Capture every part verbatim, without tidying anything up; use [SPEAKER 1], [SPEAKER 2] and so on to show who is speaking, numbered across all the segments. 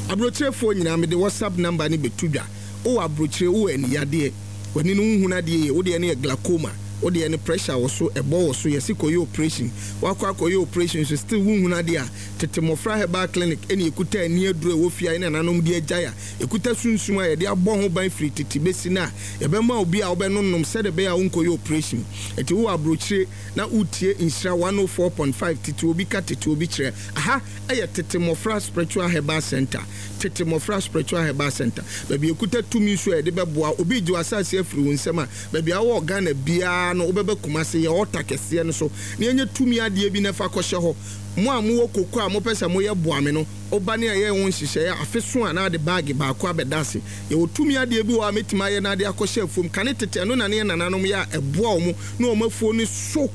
[SPEAKER 1] Aburokyerefoɔ nyinaa, mede WhatsApp number ne bɛtu dwa. Wowɔ aburokyire, wowɔ aniyadeɛ, w'ani no wohunu adeɛ yie, wodeɛ no yɛ glaucoma, wodeɛ no pressure wɔ so, ɛbɔ wɔ so, yɛsi kɔyɛ operation, wakɔ akɔyɛ operation so still wohunu adeɛ a, Tete Mmɔfra Herbal Clinic ɛne ɛkuta ani aduro a ɛwɔ fie a ɛne nananom de agyae a ɛkuta sunsum a yɛde abɔ ho ban firi tete bɛsi no a yɛbɛma obi a wobɛnonom sɛde ɛbɛyɛ a wonkɔyɛ operation. Ɛti wowɔ aburokyire na wotie Nhyira ɔha nkron nsia tete obi ka tete obi kyerɛ aha, ɛyɛ Tete Mmɔfra Spiritual Herbal Center. Tete Mmɔfra Spiritual Herbal Center, baabi ekuta tumi nso a yɛde bɛboa obi gye w'asase afiri wo nsam a, baabi a wɔwɔ Ghana biara no, wobɛbɛ Kumase yɛ ɔta kɛseɛ no so na yɛnyɛ tumi adeɛ bi na ɛfa kɔhyɛ hɔ. Mo a mowɔ koko a mopɛ sɛ moyɛ boa me no, woba ne ɛyɛ wo nhyehyɛeɛ a, afe so a na ade baage baako abɛda ase. Yɛwɔ tumi adeɛ bi wɔ hɔ a mɛtumi ayɛ na ade akɔhyɛ afuom. Kane tete ɛno na ne yɛ nananom yɛ a ɛboa wɔn na wɔn afuo no so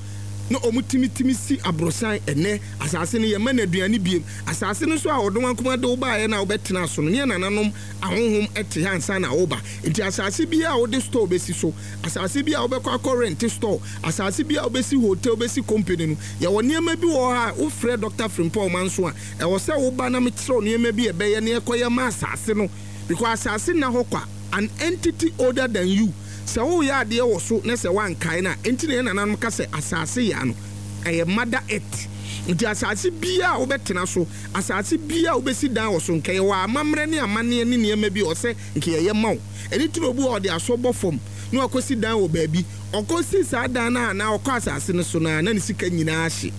[SPEAKER 1] na wɔn timitimi si aborosan. Ɛnɛ asase no yɛma no aduane biem. Asase no so a ɔdɔm ankoma de wobaeɛ na wobɛtena so no, ne yɛ nananom ahonhom te ha ansa na woba. Nti asase bi a wode store bɛsi so, asase bi a wobɛkɔ akɔ rent store, asase bi a wobɛsi hotel, wobɛsi company no, yɛwɔ nneɛma bi wɔ hɔ a wofrɛ Doctor Frimpong Manso a, ɛwɔ sɛ woba na mekyerɛw nneɛma bi a ɛbɛyɛ ne ɛkɔyɛ ma asase no, because asase nna hɔ kwa. An entity older than you, sɛ woyɛ adeɛ wɔ so na sɛ woankae no a, enti na yɛ nananom ka sɛ asase yɛ ano, ɛyɛ mother earth. Nti asase biara a wobɛtena so, asase biara a wobɛsi dan wɔ so, nka yɛwɔ amammerɛ ne amanneɛ ne nneɛma bi a ɔsɛ nka yɛyɛ ma wo. Ɛne tiri obi a ɔde asɔ bɔ fam na wakɔsi dan wɔ baabi, ɔkɔsi saa dan no a na ɔkɔ asase no so no a, na ne sika nyinaa hye.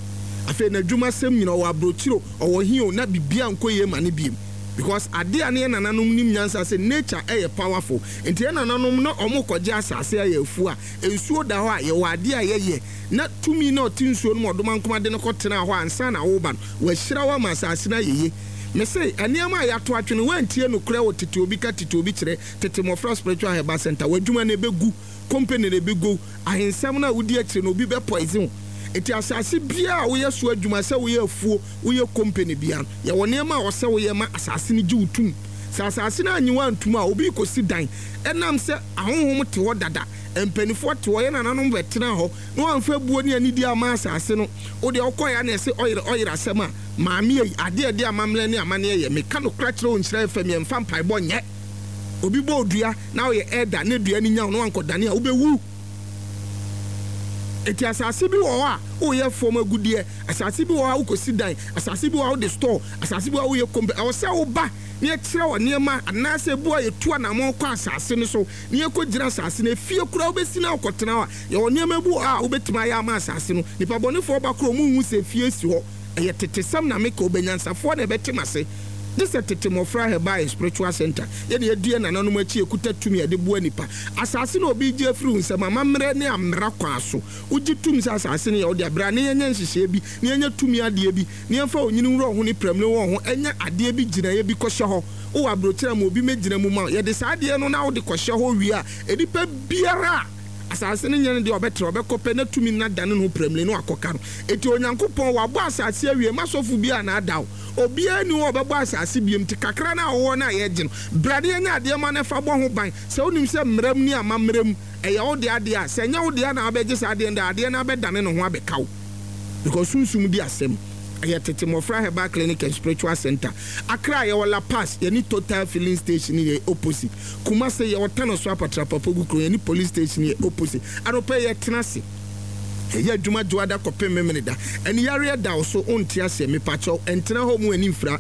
[SPEAKER 1] Afei n'adwumasɛm nyina, ɔwɔ aburokyiro, ɔwɔ hin o, na biribiara nkɔ yie ma ne biem, because adeɛ a ne yɛ nananom nim nyansa sɛ nature ɛyɛ powerful. Nti yɛ nananom na ɔmo kɔgye asase ayɛ afuo a, nsuo da hɔ a, yɛwɔ adeɛ a yɛyɛ na tumi na ɔte nsuo no mu, ɔdoma nkoma de no kɔtena hɔ ansa na woba no, wɔahyira wo ama asase no ayɛ yie. Mese nneɛma a yɛato atwene, woantie nokorɛ wɔ Tete Obi Ka Tete Obi Kyerɛ, Tete Mmɔfra Spiritual Herbal Center, w'adwuma no ɛbɛgu, company no ɛbɛgu, ahensɛm no a wodi akyire no, obi bɛ poison wo. Nti asase biara a woyɛ so adwuma, sɛ woyɛ afuo, woyɛ company biara, yɛwɔ nneɛma a ɔsɛ woyɛ ma asase no gye wo tum. Sɛ asase no anyi wo antum a, obi kɔsi dan, ɛnam sɛ ahonhom te hɔ dada, mpanimfoɔ te hɔ, yɛ nananom bɛtena hɔ na wɔamfa buo ne anidi ama asase no, wodeɛ wokɔɛ a na ɛsɛ ɔyere ɔyere asɛm a maame yi adeɛ ɛde amammerɛ ne amanneɛ yɛ. Meka nokora kyerɛ wo, Nhyira F M, yɛmfa mpaebɔ nyɛ. Obi bɔ odua na woyɛ ɛda ne dua no nya wo na wankɔdane a, wobɛwu. Eti asase bi wɔ hɔ a woyɛ fam agudeɛ, asase bi wɔ hɔ a wokɔsi dan, asase bi wɔ hɔ a wode store, asase bi wɔ hɔ a woyɛ company, ɛwɔ sɛ woba ne yɛkyerɛ wɔ nneɛma anaasɛ ebu a yɛtu anammɔn kɔ asase no so ne yɛkɔgyina asase no. Efie koraa wobɛsi na wokɔtena hɔ a, yɛwɔ nneɛma bi wɔ hɔ a wobɛtumi ayɛ ama asase no. Nipa bɔnefoɔ ba koro ɔmo nhu sɛ efie si hɔ. Ɛyɛ tetesɛm na meka, obɛnyansafoɔ na ɛbɛte m'ase gye sɛ Tete Mmɔfra Herbal and Spiritual Center. Yɛne yɛdua nananom akyi, ekuta tumi a yɛde boa nipa. Asase na obi gye afiri wo nsam, amammerɛ ne amera kwan so, wogye tum sɛ asase no yɛ wode abere ne yɛnyɛ nhyehyɛeɛ bi ne yɛnyɛ tumi adeɛ bi ne yɛmfa onyini wura ho ne pramire wɔ ho, ɛnyɛ adeɛ bi gyinaeɛ bi kɔhyɛ hɔ. Wowɔ aburokyerɛ ma obi mɛgyina mu ma yɛde saa adeɛ no na wode kɔhyɛ hɔ wie a, nipa biara a asase no nyɛ no deɛ ɔbɛtena, ɔbɛkɔ pɛ na tumi no adane no ho pramire no akɔka no. Eti Onyankopɔn wabɔ asase awie ma sɔfo bi a na ada wo, obiara ni hɔ a ɔbɛbɔ asase biem. Nti kakra no a wɔwɔ no a yɛgye no bra ne yɛnyɛ adeɛ ma no fa bɔ ho ban. Sɛ wonim sɛ mmerɛ mu ne amammerɛ mu ɛyɛ wo deɛ adeɛ a, sɛ ɛnyɛ wo deɛ na wabɛgye saa adeɛ no de, adeɛ no abɛdane ne ho abɛka wo, because sunsum di asɛm. Ɛyɛ Tete Mmɔfra Herbal Clinic and Spiritual Center. Accra, yɛwɔ Lapaz, yɛne Total Filling Station yɛ opposite. Kumase, yɛwɔ Tano so Apatrapapogu kuro, yɛne police station yɛ opposite. Anɔpɛ yɛtena ase ɛyɛ adwuma dwoada kɔpem memene da. Ɛne yareɛ da wo so, wonte aseɛ, mepakyɛw, ɛntena hɔ mu ani mfira.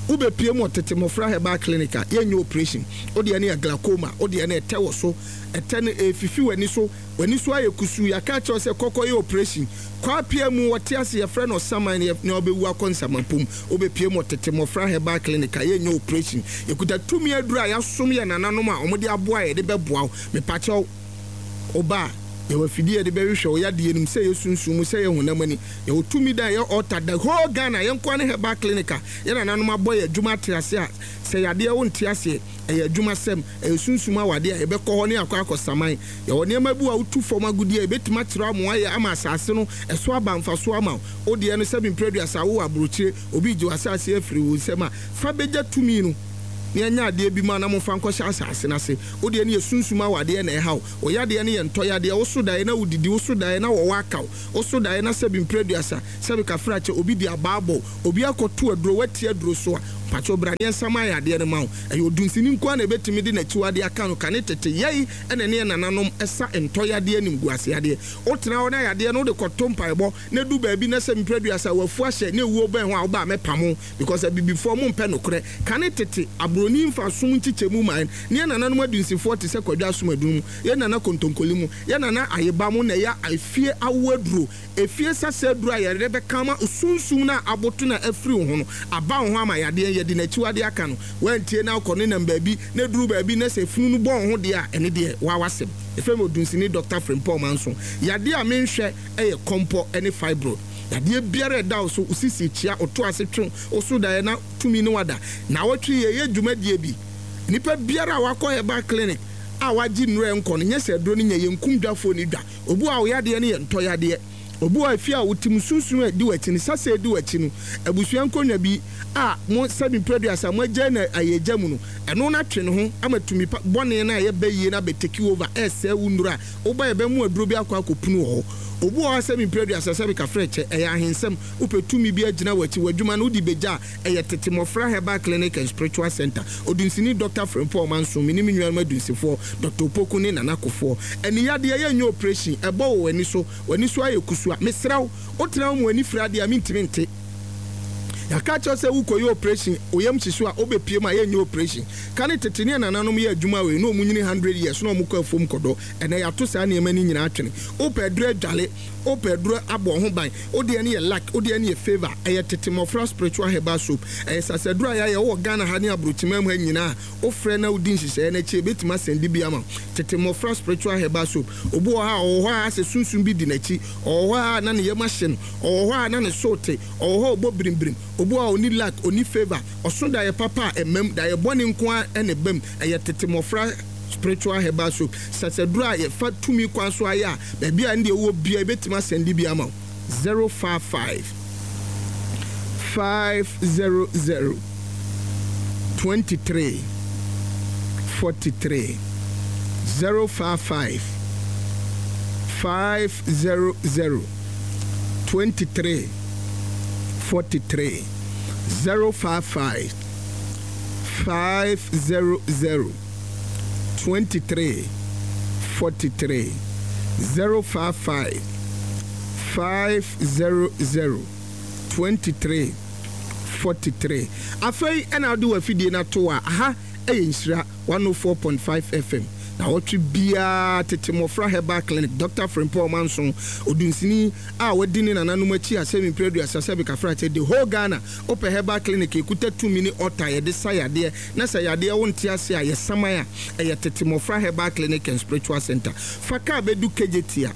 [SPEAKER 1] Wobɛpie mu wɔ Tete Mmɔfra Herbal Clinic a, yɛnyɛ operation. Wodeɛ no yɛ glaucoma, wodeɛ no ɛtɛ wɔ so, ɛtɛ no ɛfifi w'ani so, w'ani so ayɛ kusuu, yɛaka kyerɛw sɛ kɔkɔ yɛ operation. Kwapia mu wɔte ase, yɛfrɛ no ɔsaman na ɔbɛwu akɔ nsamapom. Wobɛpie mu wɔ Tete Mmɔfra Herbal Clinic a, yɛnyɛ operation. Yɛkuta tumi aduru a yɛasom yɛ nananom a ɔmode aboa a yɛde bɛboa wo. Mepakyɛw, woba a, yɛwɔ afidie yɛde bɛhwehwɛ wo yadeɛ no mu, sɛ yɛ sunsum mu, sɛ yɛ honam ani. Yɛwɔ tumi da yɛ altar the whole Ghana. Yɛnkoa ne herbal clinic a yɛ nananom abɔ yɛ adwuma ate ase a, sɛ yadeɛ wo nte aseɛ, ɛyɛ adwuma sɛm, ɛyɛ sunsum awadeɛ a, yɛbɛkɔ hɔ ne akɔ akɔ saman. Yɛwɔ nneɛma bi a wotu fam agudeɛ a yɛbɛtumi akyerɛ ama ayɛ ama asase no ɛso aba mfaso ama wo. Wodeɛ no sɛbi mprɛduasa, wowɔ aburokyire, obi gye w'asase afiri wo nsam a, fa bɛgya tumi no ne ɛnyɛ adeɛ bi ma na momfa nkɔhyɛ asase no ase. Wodeɛ no yɛ sunsum awadeɛ na ɛha wo, wo yadeɛ no yɛ ntɔ yadeɛ, wo so daeɛ na wodidi, wo so daeɛ na wɔwɔ aka wo, wo so daeɛ na sɛbi mprɛduasa, sɛbi kafrakyɛ, obi di abaabɔ, obi akɔto aduro, wati aduro so a, Patro, bra ne nsam ayɛ adeɛ no ma wo. Ɛyɛ odunsini nko a na ɛbɛtumi de n'akyiwadeɛ aka no. Kane tete yɛi ɛna ne yɛ nananom ɛsa ntɔyadeɛ, nimguaseadeɛ. Wotena hɔ na yadeɛ no wode kɔto mpaebɔ na du baabi na sɛ mprɛduasa wafu ahyɛ na ɛwuo bɛn ho a, woba a mɛpamo, because abibifoɔ mo mpɛ nokorɛ. Kane tete aburoni mfa som nkyekyɛmu man ne yɛ nananom adunsifoɔ te sɛ Kwadwo Asomadun mu, yɛ nana Kontonkoli mu, yɛ nana Ayeba mu, na ɛyɛ efie awo aduro, efie sasa aduro a yɛde bɛka ma sunsum no a aboto na afiri wo ho no aba wo ho ama yadeɛ yɛde n'akyiwadeɛ aka no. Wantie na akɔ ne nam baabi na duru baabi na sɛ funu no bɔ wo ho deɛ a, ɛne deɛ waa wasɛm. Ɛfɛ mi odunsini Doctor Frimpong Manso. Yadeɛ a menhwɛ ɛyɛ kɔmpɔ ne fibroid. Yadeɛ biara ɛda wo so, osisi kyia, ɔto ase twe wo so daeɛ na tumi ne wada na awɔtwe. Yɛyɛ dwumadie bi, nipa biara a wakɔ herbal clinic a wagye nnuro nkɔ no nyɛ sɛ aduro no nyɛ yɛnkum dwafoɔ ne dwa. Obi a ɔyadeɛ no yɛ ntɔ yadeɛ, obi a efi a wotim sunsun a ɛdi w'akyi no sasa ɛdi w'akyi no, abusua nkonnwa bi a mo sɛbi mpɛduasa mo agya na ayɛ gya mu no, ɛno na twe ne ho ama tumi pa bɔne na ɛyɛ bɛyie na bɛ take over ɛsɛ wo nnuro a woba yɛ mu aduro bi akɔ akɔpunu wɔ hɔ. Obi wɔ hɔ sɛbi mpɛduasa sɛbi kafrɛ kyɛ ɛyɛ ahensɛm, wopɛ tumi bi agyina w'akyi, w'adwuma no wode bɛgya a, ɛyɛ Tete Mmɔfra Herbal Clinic and Spiritual Center, odunsini Doctor Frimpong Manso. Me ne me nuanom adunsifoɔ Doctor Opoku ne Nana Kofoɔ. Ɛne yadeɛ yɛnyɛ operation, ɛbɔ wɔ w'ani so, w'ani so ayɛ kusua, mesrɛ wo, wotena wo mu ani fira adeɛ a mentumi nte. Yɛaka kyerɛ sɛ wokɔyɛ operation, oyam hyehye a wobɛpie mu a, yɛnyɛ operation. Ka ne tete ne nananom yɛ adwuma wei na ɔmu nyini hundred years na ɔmu kɔ afuom kɔdɔ. Ɛnɛ yɛato saa nneɛma no nyinaa twene. Wopɛ aduro adwale, wopɛ aduro abɔ ho ban, wodeɛ no yɛ luck, wodeɛ no yɛ favour, ɛyɛ Tete Mmɔfra Spiritual Herbal Soap. Ɛyɛ sasaduro a yɛayɛ wowɔ Ghana ha ne aburokyima mu ha nyinaa. Wofrɛ na wodi nhyehyɛeɛ no akyi, ebɛtumi asɛnde bi ama Tete Mmɔfra Spiritual Herbal Soap. Obi wɔ hɔ a ɔwɔ hɔ a asɛ sunsum bi di n'akyi, ɔwɔ hɔ a na ne yam ahye no, ɔwɔ hɔ a na ne so te, ɔwɔ hɔ a ɔbɔ birimbirim. Obi wɔ hɔ a ɔni luck, ɔni favour, ɔso daeɛ papa a ɛmam, daeɛ bɔne nko a ɛna ɛbam. Ɛyɛ Tete Mmɔfra Spiritual Herbal Soap, sasaduro a yɛfa tumi kwan so ayɛ a baabi a ne deɛ wɔ bia ebɛtumi asɛnde bi ama wo. zero five five five zero zero twenty three forty three, zero five five five zero zero twenty three forty three, zero five five five zero zero twenty three forty three, zero five five five zero zero twenty three forty three. Afei ɛna wode w'afidie no ato a, aha ɛyɛ Nhyira one oh four point five F M. Na wɔtwe biara Tete Mmɔfra Herbal Clinic, Doctor Frimpong Manso, odunsini a wadi ne nananom akyi asɛm mprɛduasa sɛ bikafra kyɛ the whole Ghana. Wopɛ herbal clinic ekuta tumi ne ɔta yɛde sa yadeɛ na sɛ yadeɛ wo nte ase a yɛsaman a, ɛyɛ Tete Mmɔfra Herbal Clinic and Spiritual Center. Fa kaa bɛdu Kejetia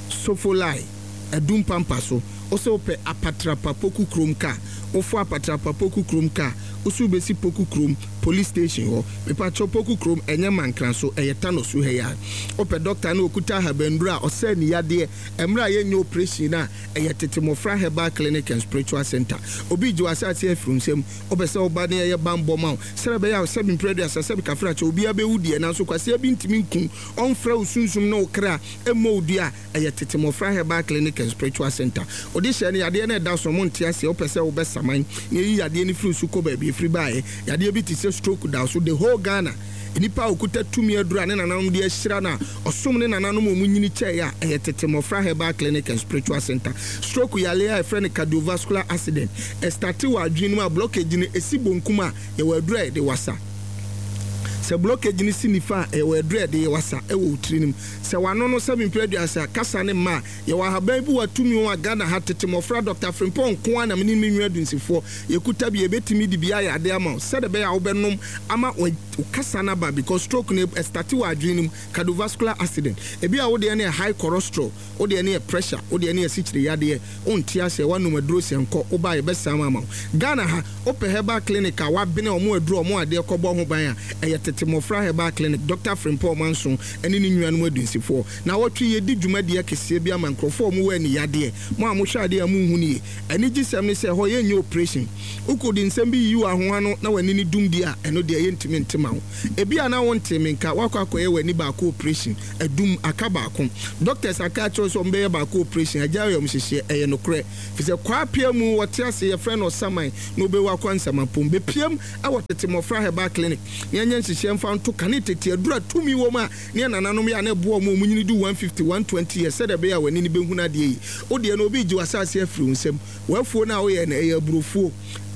[SPEAKER 1] Sofolai Adum Pampa so, wosɛ wopɛ Apatrapa Poku Kurom kaa, wofo Apatrapa Poku Kurom kaa, woso wobɛsi Poku Kurom Police Station hɔ. Mepakyɛw, Poku Kurom ɛnyɛ Mankran so, ɛyɛ Tano so ha yi a. Wopɛ doctor na okuta ahabanduro a ɔsɛ ne yadeɛ mmerɛ a yɛnyɛ operation a, ɛyɛ Tete Mmɔfra Herbal Clinic and Spiritual Center. Obi gye w'asase afiri nsam, wopɛ sɛ woba ne ɛyɛ bambɔ ma wo sɛrɛ bɛyɛ a sɛbi mprɛduasa sɛbi kafra kyɛ obiara bɛwu deɛ, nanso kwaseɛ bi ntumi nkum ɔmfrɛ wo sunsum ne wo kra ɛmmɔ wo dua a, ɛyɛ Tete Mmɔfra Herbal Clinic and Spiritual Center. Wode hyɛ no yadeɛ no ɛda so mo nte aseɛ, wopɛ sɛ wobɛsaman na ɛyi yadeɛ no firi so kɔ baabi ɛfiri baeɛ. Yadeɛ bi te sɛ stroke da so, the whole Ghana nipa a okuta tumi aduru a ne nananom de ahyira no a ɔsom ne nananom a ɔmu nyini kyɛe a, ɛyɛ Tete Mmɔfra Herbal Clinic and Spiritual Center. Stroke yale a yɛfrɛ no cardiovascular accident, ɛstart wɔ adwene no mu a, blockage no ɛsi bonkum a, yɛwɔ aduru a yɛde wasa. Sɛ blockage no si nifa a, ɛwɔ aduru a yɛde wasa ɛwɔ wo tiri no mu. Sɛ wano no sɛ mempere aduasa kasa ne mma a, yɛwɔ ahaban bi wɔ atumi ho a Ghana ha Tete Mmɔfra Doctor Frimpong nko a na mene me nua dunsifoɔ yɛkuta bi. Yɛbɛtumi de bi ayɛ ade ama wo sɛde ɛbɛyɛ a wobɛnom ama wo kasa no aba, because stroke no ɛstart wɔ adwene no mu, cardiovascular accident. Ebi a wodeɛ no yɛ high cholesterol, wodeɛ no yɛ pressure, wodeɛ no yɛ sikyire yadeɛ, wonte aseɛ, woanom aduro sɛ nkɔ, woba yɛbɛsa ama wo. Ghana ha wopɛ herbal clinic a wabene ɔmo aduro, ɔmo adeɛ kɔbɔ ho ban a, ɛyɛ Tete Mmɔfra Herbal Clinic, Dɔkta Frimpong Manso ne ne nuanom adunsifoɔ. Naawɔtwe yɛdi dwumadie akɛseɛ bi ama nkurɔfoɔ a wɔwɔ aniyadeɛ. Mo a mohwɛ adeɛ a monhu no yie. Anigyesɛm ne sɛ ɛhɔ yɛnyɛ operation. Wokɔdi nsɛm bi yiyi w'aho ano na w'ani no dum deɛ a, ɛno deɛ yɛntumi nte ma wo. Ebia na wontee me nka, woakɔ akɔyɛ w'ani baako operation, adum, aka baako. Doctors aka akyerɛ wo sɛ wɔbɛyɛ baako operation, agyae ayamhyehyeɛ, ɛyɛ nokorɛ. Efisɛ Kwaa mu wɔte ase, yɛfrɛ no ɔsaman, na obewu akɔ nsamapom. Bepiam wɔ Tete Mmɔfra Herbal Clinic na yɛnyɛ nhyehyɛɛ mfa nto kane tete aduru a tumi wom a ne yɛn nananom yɛ a na ɛboa wɔn a wɔnyini du one fifty, one twenty years sɛdeɛ ɛbɛyɛ a w'ani no bɛhunu adeɛ yie. Wo deɛ no obi regye w'asase afiri wo nsam. W'afuo no a woyɛ no ɛyɛ aburofuo,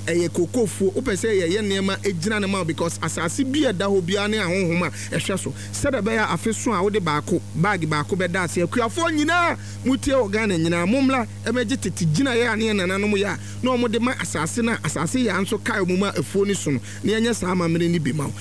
[SPEAKER 1] ɛyɛ kokofuo. Wopɛ sɛ yɛyɛ nneɛma gyina no ma wo because asase bi a ɛda hɔ biara ne ahonhom a ɛhwɛ so sɛdeɛ ɛbɛyɛ a afe so a wode baako, bag baako bɛda ase. Akuafoɔ nyinaa motie wɔ Ghana nyinaa, mommra mmɛgye tete gyinaeɛ a ne yɛn nananom yɛ a na wɔde ma asase no a asase yaa nso kae wɔn ma afuo no so no, na yɛnyɛ saa amammerɛ no bi ma wo.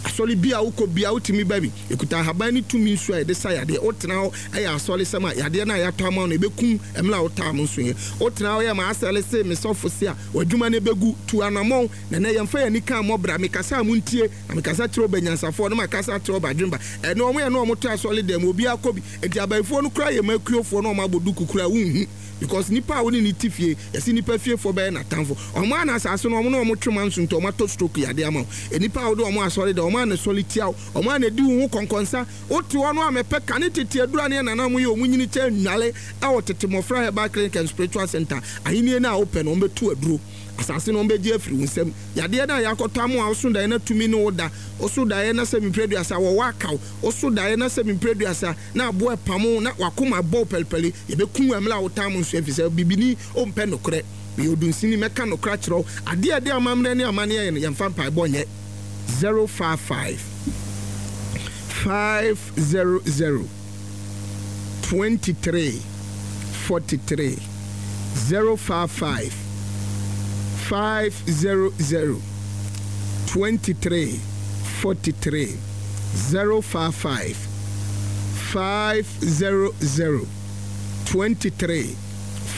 [SPEAKER 1] Asɔre bi a wokɔ biara wotumi ba bi. Ɛkuta ahaban ne tumi nsuo a yɛde sa yadeɛ. Wotena hɔ yɛ asɔresɛm a, yadeɛ no a yɛatɔ ama wo no ɛbɛkum mmerɛ a wotaa mo nso yɛ. Wotena hɔ yɛ m'asɛre se, me sɔfo se a, w'adwuma no bɛgu. Tu anamɔn. Na ɛnnɛ yɛmfa yɛn ani ka mmɔ bra. Mekasa a montie, na mekasa kyerɛ ɔbanyansafoɔ, na makasa akyerɛ ɔbadwemba. Ɛnnɛ wɔn yɛ na wɔte asɔre dan mu, obiara kɔ bi. Enti abayifoɔ no koraa yɛ mmakuofoɔ na wɔabɔ duku koraa a wonhu. Because nipa a wo ne no te fie, yɛse nipa fiefoɔ bɛyɛ n'atamfo. Wɔn ara na asase no, wɔn na wɔn twe manso nti wɔn atɔ stroke yadeɛ ama wo. Nnipa a wode wɔn asɔre da, wɔn ara na sɔre tia wo, wɔn ara na di wo ho kɔnkɔnsa. Wote hɔ no a mɛpɛ kane tete aduru a ne yɛn nananom yɛ wɔn nyini kyɛ nnwale wɔ Tete Mmɔfra Herbal Clinic and Spiritual Center. Ahennie no a wopɛ no, wɔbɛtu aduro. Asase no wɔbɛgye afiri wo nsam. Yadeɛ no a yɛakɔtɔ ama wo a woso daeɛ na tumi ne wo da, woso daeɛ na sɛ mprɛ aduasa wɔwɔ aka wo, woso daeɛ na sɛ mprɛ aduasa na aboa repamo wo na w'akoma rebɔ wo pɛlipɛli, yɛbɛku wo mmerɛ a wotaa mo nso ɛfiri sɛ bibini ɔmpɛ nokorɛ. Meyɛ odunsini, mɛka nokorɛ akyerɛ wo. Adeɛ a ɛde amammerɛ ne amanneɛ yɛ no, yɛmfa mpaebɔ nyɛ. Zero five five five zero zero twenty three forty three zero five five five zero zero twenty three forty three zero five five five zero zero twenty three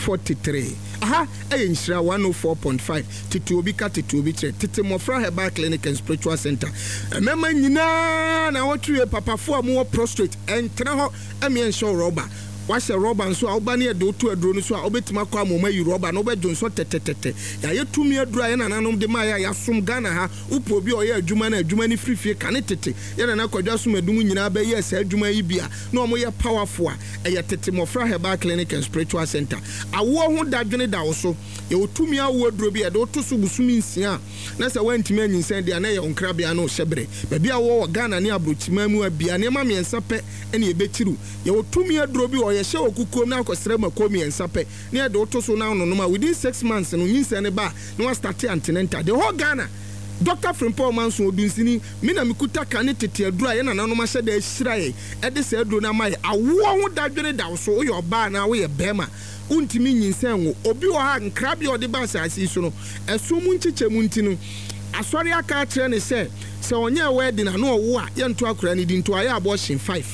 [SPEAKER 1] forty three Aha yɛ Nhyira one oh four point five Tete Obi Ka Tete Obi Kyerɛ Tete Mmɔfra Herbal Clinic and Spiritual Center Mmarima nyinaa naawɔtwe wie Papafoɔ a mowɔ prostrate ɛntena hɔ ɛmeɛ nhyɛ wo rɔba Woahyɛ rɔba nso a woba ne yɛde wo to aduro no so a wobɛtumi akɔ ama wɔayi rɔba no wobɛdwonsɔ tɛtɛtɛtɛ Yɛayɛ tumi aduro a yɛn nananom de maeɛ a yɛasom Ghana ha Wopɛ obi a ɔyɛ adwuma na adwuma no firi fie kane tete yɛn nana Kwadwo Asom-Adum nyinaa bɛyɛɛ saa adwuma yi bi a na wɔyɛ powerful a ɛyɛ Tete Mmɔfra Herbal Clinic and Spiritual Center. Awoɔ ho dadwene da wo so. Yɛwɔ tumi awoɔ aduro bi a yɛde wo to so bosome nsia a na sɛ woantumi anyinsɛn deɛ a na ɛyɛ wo nkrabea ne wo hyɛberɛ. Baabi a wowɔ wɔ Ghana ne abrokyiman mu a bia nneɛma mmiɛnsa pɛ na yɛbɛkyiri wo. Yɛwɔ tumi aduro bi wɔ hɔ yɛhyɛ wɔ kukuom na akɔsrɛ mako mmiɛnsa pɛ na yɛde wo to so na wononom a within six months no nyinsɛn no ba a na woastarte antenatal. The whole Ghana Dɔkta Frimpong Manson, Odunsini, me na mekuta kane tete aduro a yɛn nananom ahyɛ da ahyira yɛn de saa aduro no ama yɛn. Awoɔ ho dadwene da wo so, woyɛ ɔbaa anaa woyɛ barima, wontumi nyinsɛn nwo. Obi wɔ hɔ a, nkrabea a ɔde ba asase yi so no, ɛsom mu nkyekyɛmu nti no, asɔre aka akyerɛ no sɛ, sɛ ɔnyɛɛ wedding a na ɔwo a, yɛnto akwadaa no din nti wayɛ abortion five,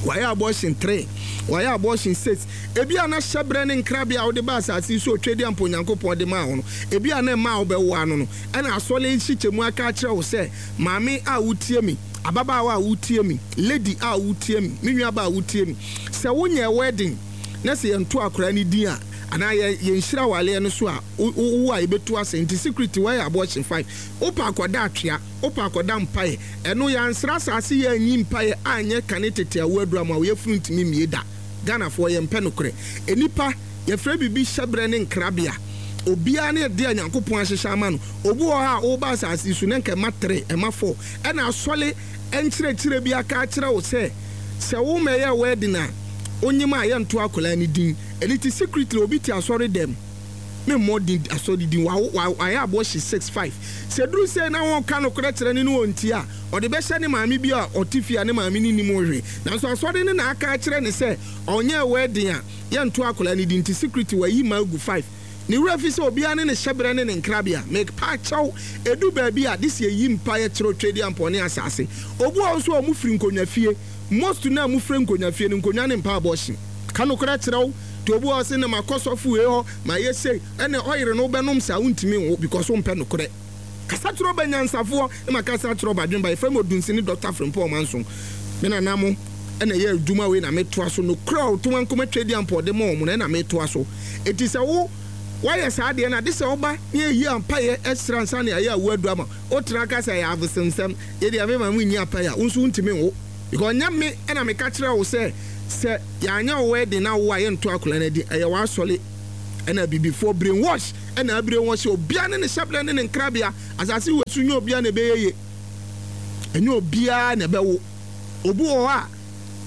[SPEAKER 1] wayɛ abortion three, wayɛ abortion six. Ebia na hyɛberɛ ne nkrabea a wode ba asase yi so a Otwedeɛ ampa Onyankopɔn de maa wo no, ebia na mma a wobɛwo ano no, ɛna asɔre nhyekyɛmu aka akyerɛ wo sɛ, Maame a wotie me, ababaawa a wotie me, lady a wotie me, me nuabaa a wotie me, sɛ wonyɛɛ wedding na sɛ yɛnto akwadaa no din a, anaa yɛ yɛnhyira awareɛ no so a, wo wo a yɛbɛtu ase. Nti secret woayɛ abortion five. Wopɛ akɔda atwea, wopɛ akɔda mpaeɛ. Ɛno yɛansra asase yɛanyi mpaeɛ anyɛ kane tete awoɔ aduru ama wo yafunu ntumi mmie da. Ghanafoɔ yɛmpɛ nokorɛ. Nnipa, yɛfrɛ biribi hyɛberɛ ne nkrabea. Obiara ne adeɛ a Nyankopɔn ahyehyɛ ama no. Obi wɔ hɔ a woba asase yi so na nka ɛma three, ɛma four. Ɛna asɔre nkyerɛkyerɛ bi aka akyerɛ wo sɛ, sɛ wo mmɛyɛɛ wedding a, wonyem a yɛnto akwadaa no din. Ɛno nti secretly obi te asɔre dɛm. Me mmɔ din asɔre din wa wa wayɛ abortion six five sɛ duru sei na wɔka nokorɛ kyerɛ no ne ɔntie a ɔde bɛhyɛ ne maame bi a ɔte fie a ne maame no nnim ho hwee nanso asɔre no na aka akyerɛ no sɛ ɔnyɛɛ wedding a yɛnto akwadaa no din nti secretly wayi mma agu five ne werɛ fi sɛ obiara ne ne hyɛberɛ ne ne nkrabea mepa kyɛw ɛdu baabi a this yɛyi mpaeɛ kyerɛ Otwedeampɔn ne asase obi wɔ hɔ nso a wɔn firi nkonnwa fie most no a mofiri nkonnwa fie no nkonnwa ne mpa abortion ka nokorɛ kyerɛ wo Nti obi wɔ hɔ ɔse na makɔ sɔfo wei hɔ mayɛ sei ɛna ɔyere no wobɛnom saa wontumi nwo because wompɛ nokorɛ. Kasa kyerɛ ɔba nyansafoɔ na makasa kyerɛ ɔba adwemba. Yɛfrɛ me Odunsini Doctor Frimpong Ɔmanson. Me nana mo ɛna ɛyɛ adwuma wei na metoa so. Nokorɛ a ɔto ankoma twɛdi ampɔde ma wɔn no ɛna metoa so. Eti sɛ wo wayɛ saa adeɛ no ade sɛ ɔba ne yɛyi ampayɛ ɛsra nsa ne ayɛ awu adu ama wotena ka sɛ ɛyɛ abosonsɛm, yɛdeɛ mema mo nyi ampayɛ a, wo nso wontumi nwo, because ɔnyɛ me ɛna meka kyerɛ wo sɛ sɛ yɛanyɛ wo wedding na wo a yɛnto akwadaa no adi. Ɛyɛ w'asɔre ɛna abibifoɔ brainwash ɛna abrainwash obiara ne ne hyɛbrɛ ne ne nkrabea. Asase wɔ so, nyɛ obiara na ɛbɛyɛ yie, ɛnyɛ obiara na ɛbɛwo. Obi wɔ hɔ a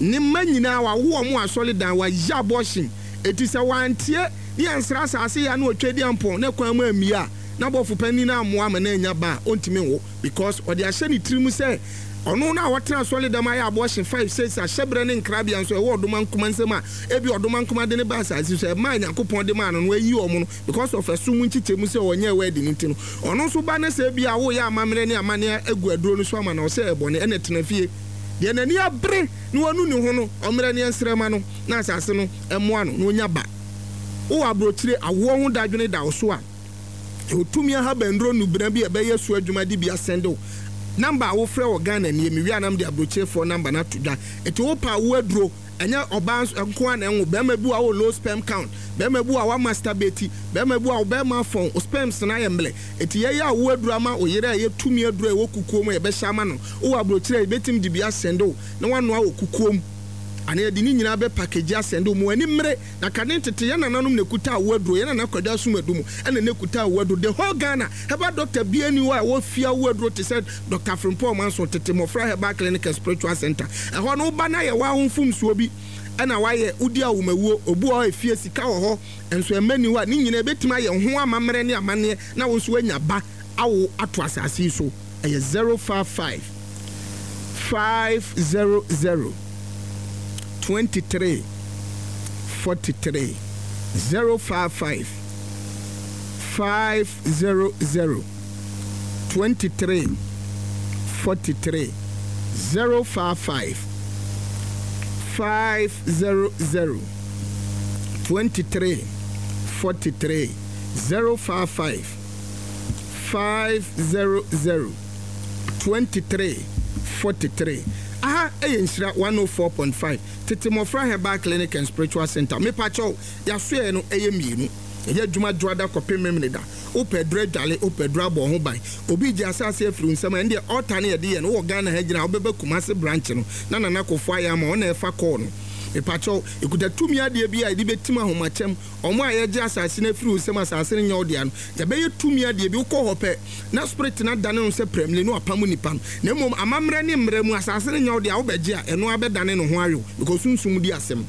[SPEAKER 1] ne mma nyinaa wawo wɔn asɔre dan, wayɛ abortion. Eti sɛ wantie ne yɛnsra asase yɛ na otwa di ampɔn na kwan mu amie a na bɔfo panyin na amoa ama na anya ba a, ɔntumi nwo, because ɔde ahyɛ ne tirim sɛ ɔno na wɔtena asɔre dɛm ayɛ abortion five, six. Ahyɛbrɛ ne nkrabea nso ɛwɔ ɔdoma nkoma nsɛm a ebi ɔdoma nkoma de ne ba asase so ɛmaa Nyankopɔn de maa no no ayi ɔmo no because of ɛso mu nkyekyɛ mu sɛ ɔnyɛ ɛwɔ ɛdi ne ti no, ɔno nso ba ne sɛ ebi a woyɛ amammerɛ ne amanneɛ agu aduro no so ama na ɔsɛ ɛbɔne. Ɛna tena fie deɛ n'ani abere na wanu ne ho no, ɔmmerɛ ne ɛnsrɛma no na asase no ɛmoa no na onya ba. Wowɔ aburokyire, awoɔ ho dadwene da wo so a, otumi ahabanduro nubena bi a ɛbɛyɛ so adwuma de bi asɛnde wo. Number a wofrɛ wɔ Ghana nie. Mewie anam de aburokyirefoɔ number no ato dwa. Eti wopa awo aduro, ɛnyɛ ɔbaa nko a na ɛnwo. Bɛrima bi a wɔ low sperm count, bɛrima bi a wa masturbate, bɛrima bi a bɛrima afɔn o, sperms na ayɛ mmerɛ. Eti yɛyɛ awo aduro ama o yere a ɛyɛ tumi aduro a ɛwɔ kukuo mu a yɛbɛhyɛ ama no. Wowɔ aburokyire a, yɛbɛtumi de bi asɛnde wo na wanoa wɔ kukuo mu ana yɛde ne nyinaa bɛ package asɛnde wo mu ani mmere. Na kane tete yɛn nananom na ekuta awo aduro. Yɛn nana Kwadwo Asomadu mu ɛna na ekuta awo aduro. The whole Ghana herbal doctor bie ni hɔ a ɛwɔ fie awo aduro te sɛ Doctor Frimpong Ɔmanso, Tete Mmɔfra Herbal Clinic and Spiritual Center. Ɛhɔ no woba na yɛ wɔ ahomfomsuo bi ɛna wayɛ wodi awomawuo, obu wɔ hɔ, efie sika wɔ hɔ nso ɛmɛ ni hɔ a, ne nyinaa ebɛtumi ayɛ ho amammerɛ ne amanneɛ na wo nso wanya ba awo ato asase yi so. Ɛyɛ zero five five five zero zero twenty three forty three, zero five five five zero zero twenty three forty three, zero five five five zero zero twenty three forty three, zero five five five zero zero twenty three forty three. Aha ɛyɛ Nhyira one oh four point five, Tete Mmɔfra Herbal Clinic and Spiritual Center. Mepakyɛw, yɛasoɛ no ɛyɛ mmienu. Ɛyɛ adwuma dwoada kɔpem Memene da. Wopɛ duro adwale, wopɛ duro abɔ ho ban, obi gye asase afiri wo nsɛm a, ɛndeɛ ɔta ne yɛde yɛ no. Wowɔ Ghana ha gyina a, wobɛba Kumase branch no na Nana Kofo ayɛ ama ɔna ɛfa kɔɔ no. Mepakyɛw, ɛkuta tumi adeɛ bi a yɛde bɛtim ahomakyɛm. Ɔmo a yɛgye asase no afiri wo nsɛm, asase no nyɛ wo dea no, yɛbɛyɛ tumi adeɛ bi. Wokɔ hɔ pɛ na spirit no adane no sɛ prɛmle ne wapam nipa no. Na mmom amammerɛ ne mmerɛ mu, asase no nyɛ wo dea, wobɛgye a, ɛno abɛdane ne ho awew, because sunsum di asɛm.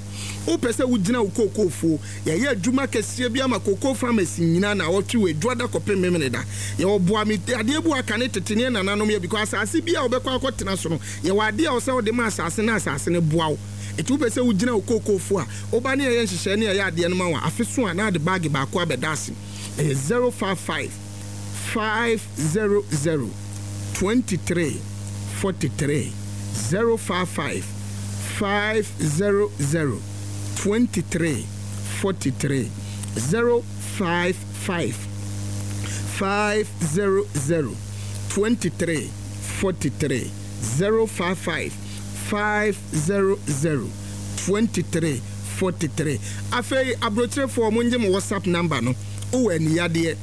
[SPEAKER 1] Wopɛ sɛ wogyina wo kookoofuo, yɛyɛ adwuma kɛseɛ bi ama kookoo farmers nyinaa na wɔtwe wɔ adwuada kɔpem Memene da. Yɛwɔ boa me adeɛ bi aka ne tete ne nananom yɛ, because asase bi a wobɛkɔ akɔtena so no, yɛwɔ adeɛ a wɔsɛ wode ma asase na asase no boa wo. Ɛti wopɛ sɛ wogyina wo kookoofuo a, woba ne yɛyɛ nhyehyɛe ne yɛyɛ adeɛ no ma wo a, afe so a na ade baage baako abɛda ase. Ɛyɛ zero five five five zero zero twenty three forty three, zero five five five zero zero twenty three forty three, zero five five five zero zero twenty three forty three, zero five five five zero zero twenty three forty three. Afei aburokyerefoɔ, mo nye mo WhatsApp number no. Wowɔ ani yadeɛ,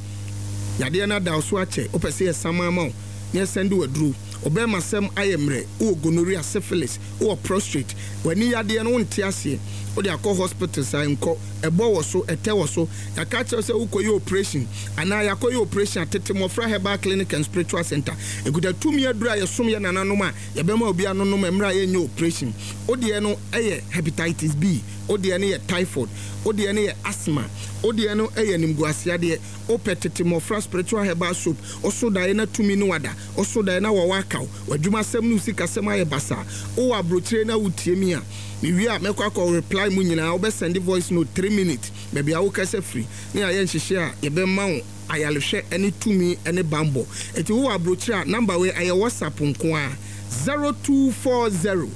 [SPEAKER 1] yadeɛ no ada wo so akyɛ, wopɛ sɛ yɛsam ama wo na yɛsɛnde waduro, ɔbɛrima sɛm ayɛ mmerɛ, wowɔ gonorrhea, syphilis, wowɔ prostate, w'ani yadeɛ no wonte aseɛ, wode akɔ hospital saa nkɔ, ɛbɔ wɔ so, ɛtɛ wɔ so, yɛaka kyerɛ sɛ wokɔyɛ operation anaa yɛakɔyɛ operation a, Tete Mmɔfra Herbal Clinic and Spiritual Center ɛkuta tumi aduro a yɛsom yɛ nananom a yɛbɛma obi anonom mmerɛ a yɛnyɛ operation. Wodeɛ no ɛyɛ hepatitis B, wodeɛ no yɛ typhoid, wodeɛ no yɛ asthma, wodeɛ no ɛyɛ nimguaseadeɛ, wopɛ Tete Mmɔfra Spiritual Herbal Soap, ɔso daeɛ na tumi no wada, ɔso daeɛ na wɔwɔ akaw, w'adwumasɛm ne wo sikasɛm ayɛ basaa. Wowɔ aburokyire na wotie mi a, mewie a mɛkɔ akɔ reply mu nyinaa. Wobɛsɛnde voice note three minutes, baabi a wokasa firi ne ayɛ nhyehyɛ a yɛbɛma wo ayarehwɛ ne tumi ne bambɔ. Eti wowɔ aburokyire a, number wei ɛyɛ WhatsApp nko a: zero two four zero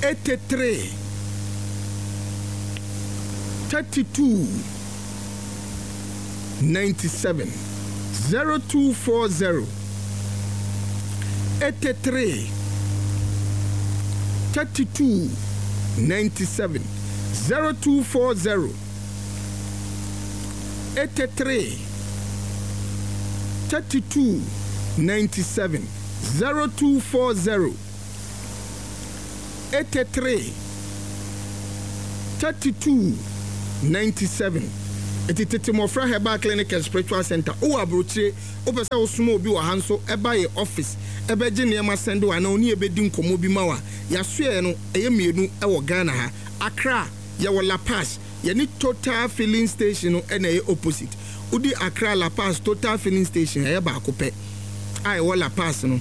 [SPEAKER 1] eighty three thirty two ninety seven, zero two four zero eighty three thirty two ninety seven zero two four zero eighty three thirty two ninety seven zero two four zero eighty three thirty two ninety seven. Eti Tete Mmɔfra Herbal Clinic and Spiritual Center wowɔ aburokyire, wopɛ sɛ wosoma obi wɔ ha nso ɛba yɛ office ɛbɛgye nneɛma sɛnde wɔ anaa oni ɛbɛdi nkɔmmɔ bi ma wa yɛasoɛ no ɛyɛ mmienu ɛwɔ Ghana ha. Accra yɛwɔ Lapaz, yɛne Total Filling Station no ɛna ɛyɛ opposite. Wodi Accra Lapaz Total Filling Station, ɛyɛ baako pɛ a ɛwɔ Lapaz no.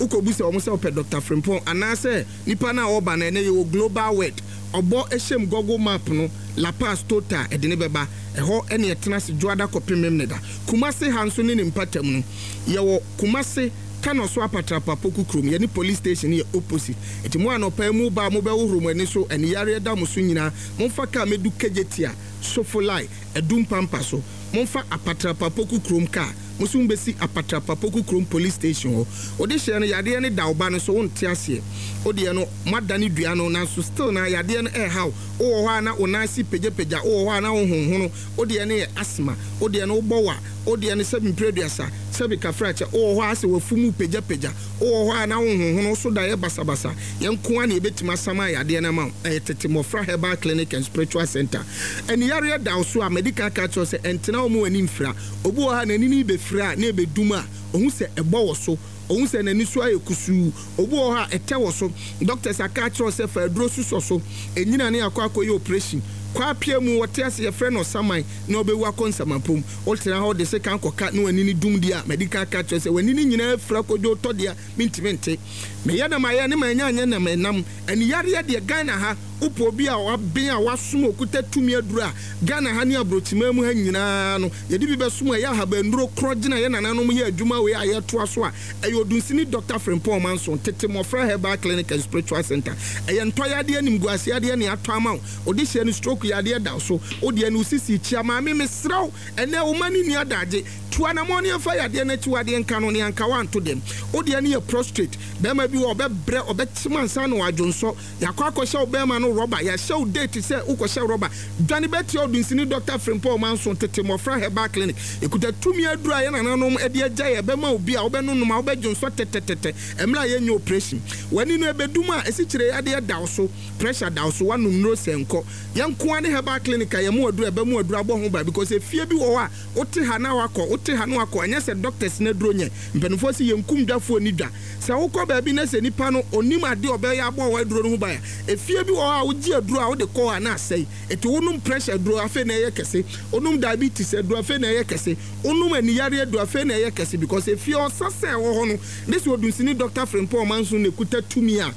[SPEAKER 1] Wokɔbu sɛ ɔmo sɛ wopɛ Doctor Frimpong anaasɛ nipa no a ɔba no, ɛnɛ yɛwɔ Global Word ɔbɔ ɛhyɛm Google Map no, Lapaz Total ɛde ne bɛba ɛhɔ. Ɛne ɛtena ase dwoada kɔpem Memneda. Kumase ha nso ne ne mpatam no, yɛwɔ Kumase Kano so Apatrapa Poku kurom, yɛne police station yɛ opposite. Nti mo anɔpa mu ba a mobɛhohoro mo ani so, ɛne yareɛ da mo so nyinaa, momfa kaa mɛdu Kejetia Sofolai ɛdu mpampa so, momfa Apatrapa Poku kurom kaa mo so mbɛsi Apatrapa Poku kurom police station hɔ. Wode hyɛ no yadeɛ no da wo ba no so, wonte aseɛ. Wodeɛ no moadane dua no nanso still na yadeɛ no ɛɛhaw. Wowɔ hɔ a na wo nan ase pagyapagya, wowɔ hɔ a na wo honhono. Wodeɛ no yɛ asthma, wodeɛ no wobɔ wa, wodeɛ no sɛbi mpere aduasa sɛbi kafrakyɛ. Wowɔ hɔ a sɛ wafu mu pagyapagya, wowɔ hɔ a na wo honhono so da yɛ basabasa. Yɛn nko a na yɛbɛtumi asama yadeɛ no ama wo. Ɛyɛ Tete Mmɔfra Herbal Clinic and Spiritual Center. Ɛne yareɛ da wo so a medical ka kyerɛ sɛ ɛntena wo mu ani mfira. Obi wɔ ha n'ani no bɛfira a na ɛbɛdum a ɔhu sɛ ɛbɔ wɔ so, ɔhu sɛ n'ani so ayɛ kusuu. Obi wɔ hɔ a ɛtɛ wɔ so, doctors aka akyerɛw sɛ fa aduro susɔ so ɛnyina ne akɔ akɔyɛ operation kɔ apia mu. Wɔte ase yɛfrɛ no ɔsaman na ɔbɛwu akɔ nsamapom. Wotena hɔ de sekan kɔka na w'ani no dum deɛ a medical ka kyerɛ sɛ w'ani no nyinaa afira kɔdwo tɔ deɛ mentimi nte meyɛ na mayɛ ne manya anyɛ na menam. Ani yareɛ deɛ, Ghana ha wopɛ obi a waben a wasom okuta tumi aduro a Ghana ha ne aburokyiman mu ha nyinaa no yɛde bi bɛsom a ɛyɛ ahabanduro korɔ gyina yɛ nananom yɛ adwuma wei a yɛtoa so a ɛyɛ Odunsini Doctor Frimpong Manso, Tete Mmɔfra Herbal Clinic and Spiritual Center. Ɛyɛ ntɔyadeɛ, nimguaseadeɛ ne atɔ ama wo. Wode hyɛ no stroke yadeɛ da so, wodeɛ no wosisi kyia. Maame, mesrɛ wo, ɛnɛ wo ma ne nni adagye tu anammɔ ne ɛmfa yadeɛ no akyiwadeɛ nka no ne anka woanto dɛm. Wodeɛ no yɛ prostate, bɛrima bi wɔ ɔbɛbrɛ ɔbɛkyem ansa na wadwonsɔ, yɛakɔ akɔhyɛ wo bɛrima no rɔba, yɛahyɛ wo date sɛ wokɔhyɛ rɔba, dwane bɛtia Odunsini Doctor Frimpong Manso, Tete Mmɔfra Herbal Clinic. Ɛkuta tumi aduru a yɛ nananom de agya yɛ bɛma obi a wobɛnonom a wobɛdwonsɔ tɛtɛtɛtɛ mmerɛ a yɛnyɛ operation. W'ani no ɛbɛdum a ɛsikyire yadeɛ da wo so, pressure da wo so, woanom nnuro sɛ nkɔ. Yɛnkoa ne herbal clinic a yɛmo aduru a ɛbɛmo aduru abɔ ho ba because efie bi wɔ hɔ a wote ha na wakɔ, wote ha na wakɔ. Ɛnyɛ sɛ doctors na aduro nyɛ. Mpanimfoɔ si yɛnkum dwafoɔ ni dwa sɛ wokɔ baabi na sɛ nipa no onim adeɛ ɔbɛyɛ abɔ wɔ aduro no ho ban a efie bi wɔ hɔ a wogye aduro a wode kɔ a na asɛe. Eti wonom pressure aduro afei na ɛyɛ kɛse, wonom diabetes aduro afei na ɛyɛ kɛse, wonom aniyare aduro afei na ɛyɛ kɛse because efie ɔsa sɛ ɛwɔ hɔ no ne sɛ Odunsini Doctor Frimpong Manso na ekuta tumi a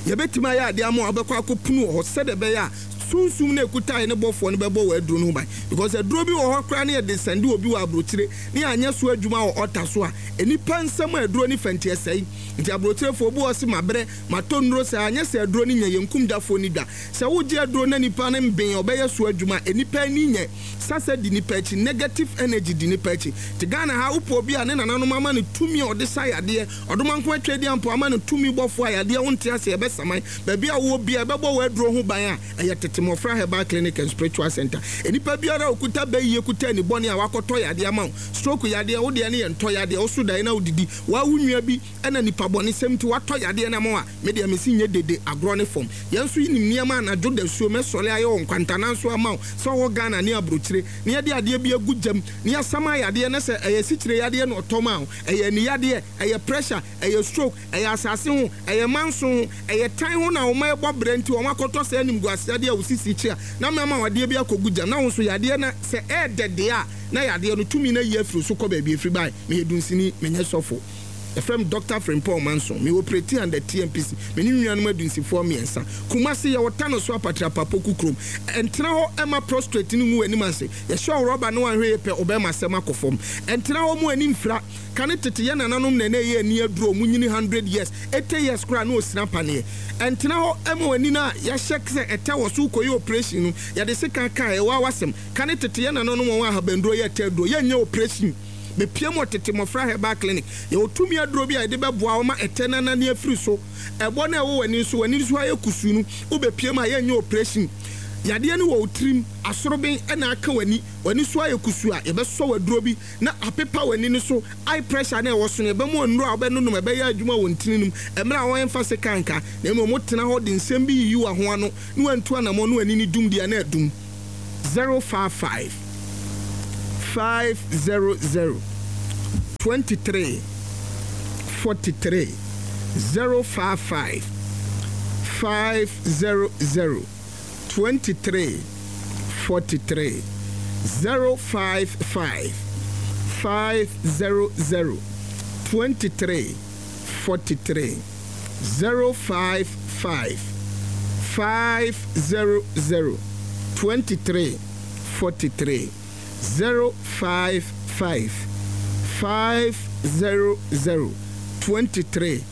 [SPEAKER 1] yɛbɛtumi ayɛ adeɛ ama a wobɛkɔ akɔpunu wɔ hɔ sɛdeɛ ɛbɛyɛ a sunsum no ekuta yɛ ne bɔfoɔ no bɛbɔ wɔ aduro no ho ban because aduro bi wɔ hɔ koraa ne yɛde sɛnde obi wɔ aburokyire ne yɛanyɛ so adwuma wɔ ɔta so a nipa nsɛm a aduro ne fɛnti ɛsɛe. Nti aburokyirefoɔ obi wɔ se mabrɛ matɔ nnuro sɛ anyɛ sɛ aduro no nyɛ. Yɛnkum dwafoɔ ni dwa sɛ wogye aduro na nipa no mbɛn ɔbɛyɛ so adwuma a nipa ani nyɛ sasa di nipa akyi, negative energy di nipa akyi. Te Ghana ha wopɔ obi a ne nananom ama no tumi a ɔde sa yadeɛ, ɔdomanko atwa adi ampo ama no tumi bɔfoɔ a yadeɛ wonte ase ɛbɛsaman baabi a wowɔ bia ɛbɛbɔ wɔ aduro ho ban a ɛyɛ Tete Mmɔfra Herbal Clinic and Spiritual Center. Nipa biara a okuta bɛyie kuta ani bɔne a wakɔtɔ yadeɛ ama wo, stroke yadeɛ, wodeɛ no yɛ ntɔ yadeɛ, woso daeɛ na wodidi wawo nua bi ɛna nipa bɔne sɛm nti watɔ yadeɛ no ama wo a medeɛ mesi nyɛ dede agorɔ ne fam. Yɛn nso nim nneɛma anadwo da suo mɛsɔre ayɛ wɔ nkwantana nso ama wo sɛ ɔwɔ Ghana ne aburokyire ne yɛde adeɛ bi agu gyam ne yɛasam ayadeɛ ne sɛ ɛyɛ sikyire yadeɛ na ɔtɔm a ɛyɛ ani yadeɛ, ɛyɛ pressure, ɛyɛ stroke, ɛyɛ asase ho, ɛyɛ manso ho, ɛyɛ tan ho na wɔn ɛbɔ brɛ nti wɔn akɔtɔ sɛ anim gu aseadeɛ a wosisi kyi a na mɛma wadeɛ bi akɔgu gyam na wɔn nso yadeɛ na sɛ ɛɛdɛ deɛ a na yadeɛ no tumi na yi afiri so kɔ baabi efiri ban. Meyɛ dunsini, menyɛ sɔfo. Ɛfrɛ m Doctor Frimpong Manso. Mewɔ operate under T M P C. Mene nuanom adunsifoɔ mmiɛnsa. Kumase yɛwɔ Tano so Apatrapa Poku kurom. Ɛntena hɔ ɛma prostate no ngu w'anim ase. Yɛhyɛ wo rɔba ne wanhwɛ yɛ pɛ wobɛma asɛm akɔ fam. Ɛntena hɔ mu ani mfira. Ka ne tete yɛ nananom na ɛnɛ ɛyɛ ani aduro mu nyini hundred years, eighty years koraa na ɔsina paneɛ. Ɛntena hɔ ɛma w'ani no a yɛahyɛ sɛ ɛtɛ wɔ so wokɔyɛ operation no yɛde sika kaa ɛwɔ awasɛm. Ka ne tete yɛ nananom wɔn ahabanduro yɛ ɛtɛ aduro yɛnyɛ operation. Bɛpie mu wɔ Tete Mmɔfra Herbal Clinic. Yɛwɔ tumi aduro bi a yɛde bɛboa wo ma ɛtɛ no anane afiri so. Ɛbɔ no a ɛwɔ w'ani nso, w'ani so ayɛ kusuu no, wobɛpie mu a yɛnyɛ operation. Yadeɛ no wɔ wo tirim, asoroben na aka w'ani, w'ani so ayɛ kusuu a, yɛbɛsɔ wo aduro bi na apepa w'ani no so. Eye pressure no a ɛwɔ so no, yɛbɛma wo nnuro a wobɛnonom, ɛbɛyɛ adwuma wɔ ntini no mu. Mmerɛ a wɔmfa sekan nka, na mmom wotena hɔ de nsɛm bi yiyi w'aho ano na woantu anammɔn na w'ani no dum deɛ a, na adum. Zero five five five zero zero twenty three forty three zero five five five zero zero twenty three forty three zero five five five zero zero twenty three forty three zero five five five zero zero twenty three forty three zero five five five zero zero twenty three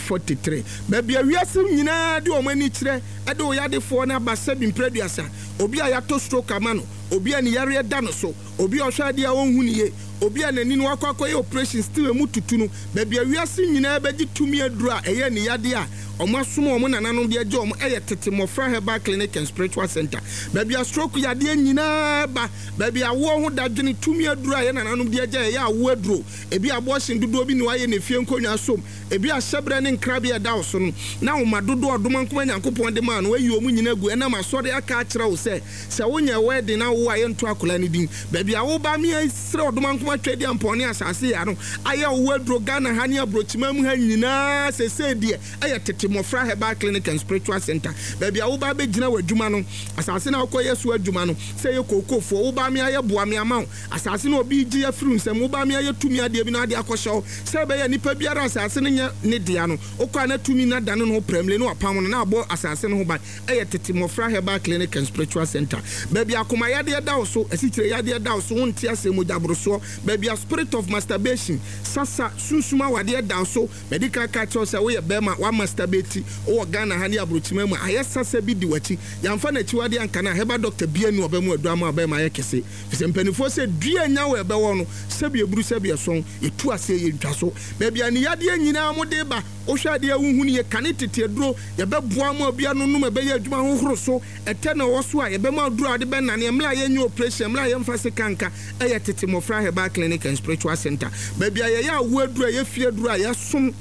[SPEAKER 1] forty three Baabi a wiase nyinaa de wɔn ani kyerɛ de oyadefoɔ no aba sɛbi mprɛ aduasa, obi a yɛatɔ stroke ama no, obi a ne yareɛ da no so, obi a ɔhwɛ adeɛ a ɔnhu no yie, obi a n'ani no wakɔ akɔyɛ operation still emu tutu no, baabi a wiase nyinaa bɛgye tumi aduro a ɛyɛ ne yadeɛ a wɔn asom wɔn nananom de agye wɔn ɛyɛ Tete Mmɔfra Herbal Clinic and Spiritual Center. Baabi a stroke yadeɛ nyinaa ba, baabi a awoɔ ho dadwene, tumi aduro a yɛn nananom de agya ɛyɛ awoɔ aduro, ebi abortion dodoɔ bi na wayɛ ne fie nkonnwa som, ebi ahyɛbrɛ ne nkrabea ɛda wo so no, na wo mma dodoɔ a Ɔdomankoma Nyankopɔn de maa no, wayi wɔn nyinaa agu ɛnam asɔre aka akyerɛ wo sɛ, sɛ wonyɛ wedding na wowo a yɛnto akwadaa no din. Baabi a woba me srɛ Ɔdomankoma Tweaduampɔn ne asase yɛ ano ayɛ wo aduro Ghana ha ne aburokyiman mu ha nyinaa sesei deɛ ɛyɛ Tete Mmɔfra Herbal Clinic and Spiritual Center. Baabi a woba abɛgyina w'adwuma no, asase no a wokɔyɛ so adwuma no, sɛ ɛyɛ kookofoɔ, woba me ayɛ boa me ama wo, asase no obi gye afiri wo nsam, woba me ayɛ tumi adeɛ bi na ade akɔhyɛ hɔ, sɛ ɛbɛyɛ nipa biara asase no nyɛ ne dea no, wokɔ a na tumi no adane ne ho prɛmle na wapam no na abɔ asase no ho ban. Ɛyɛ Tete Mmɔfra Herbal Clinic and Spiritual Center. Baabi a akoma yadeɛ da wo so, asikyire yadeɛ da wo so, wonte aseɛ, mogya borosoɔ, baabi a spirit of masturbation, sasa, sunsum awadeɛ da wo so, madi kan aka akyerɛ wo sɛ woyɛ bɛrima, woamasturbate, wowɔ Ghana ha ne aburokyima mu a, ayɛ sasa bi di w'akyi, yɛamfa n'akyiwadeɛ anka no a, herbal doctor biara nni hɔ a ɔbɛma aduro ama wo bɛrima ayɛ kɛse. Firi sɛ mpanimfoɔ sɛ dua nya wo a ɛbɛwɔ no, sɛbi eburu sɛbi ɛsɔn, yɛtu aseɛ yɛntwa so. Baabi a ne yadeɛ nyinaa mode ba, wohwɛ adeɛ a wonhu no yie, kane tete aduro, yɛbɛboa ma obi ano nom ɛbɛyɛ adwuma hohoro so, ɛtɛ na ɛwɔ so a, yɛbɛma aduro a wode bɛnane, mmerɛ a yɛnyɛ operation, mmerɛ a yɛmfa sika nka, ɛyɛ Tete Mmɔfra Herbal Clinic and Spiritual Center. Baabi a yɛyɛ awoɔ aduro a ɛyɛ fie aduro a yɛsom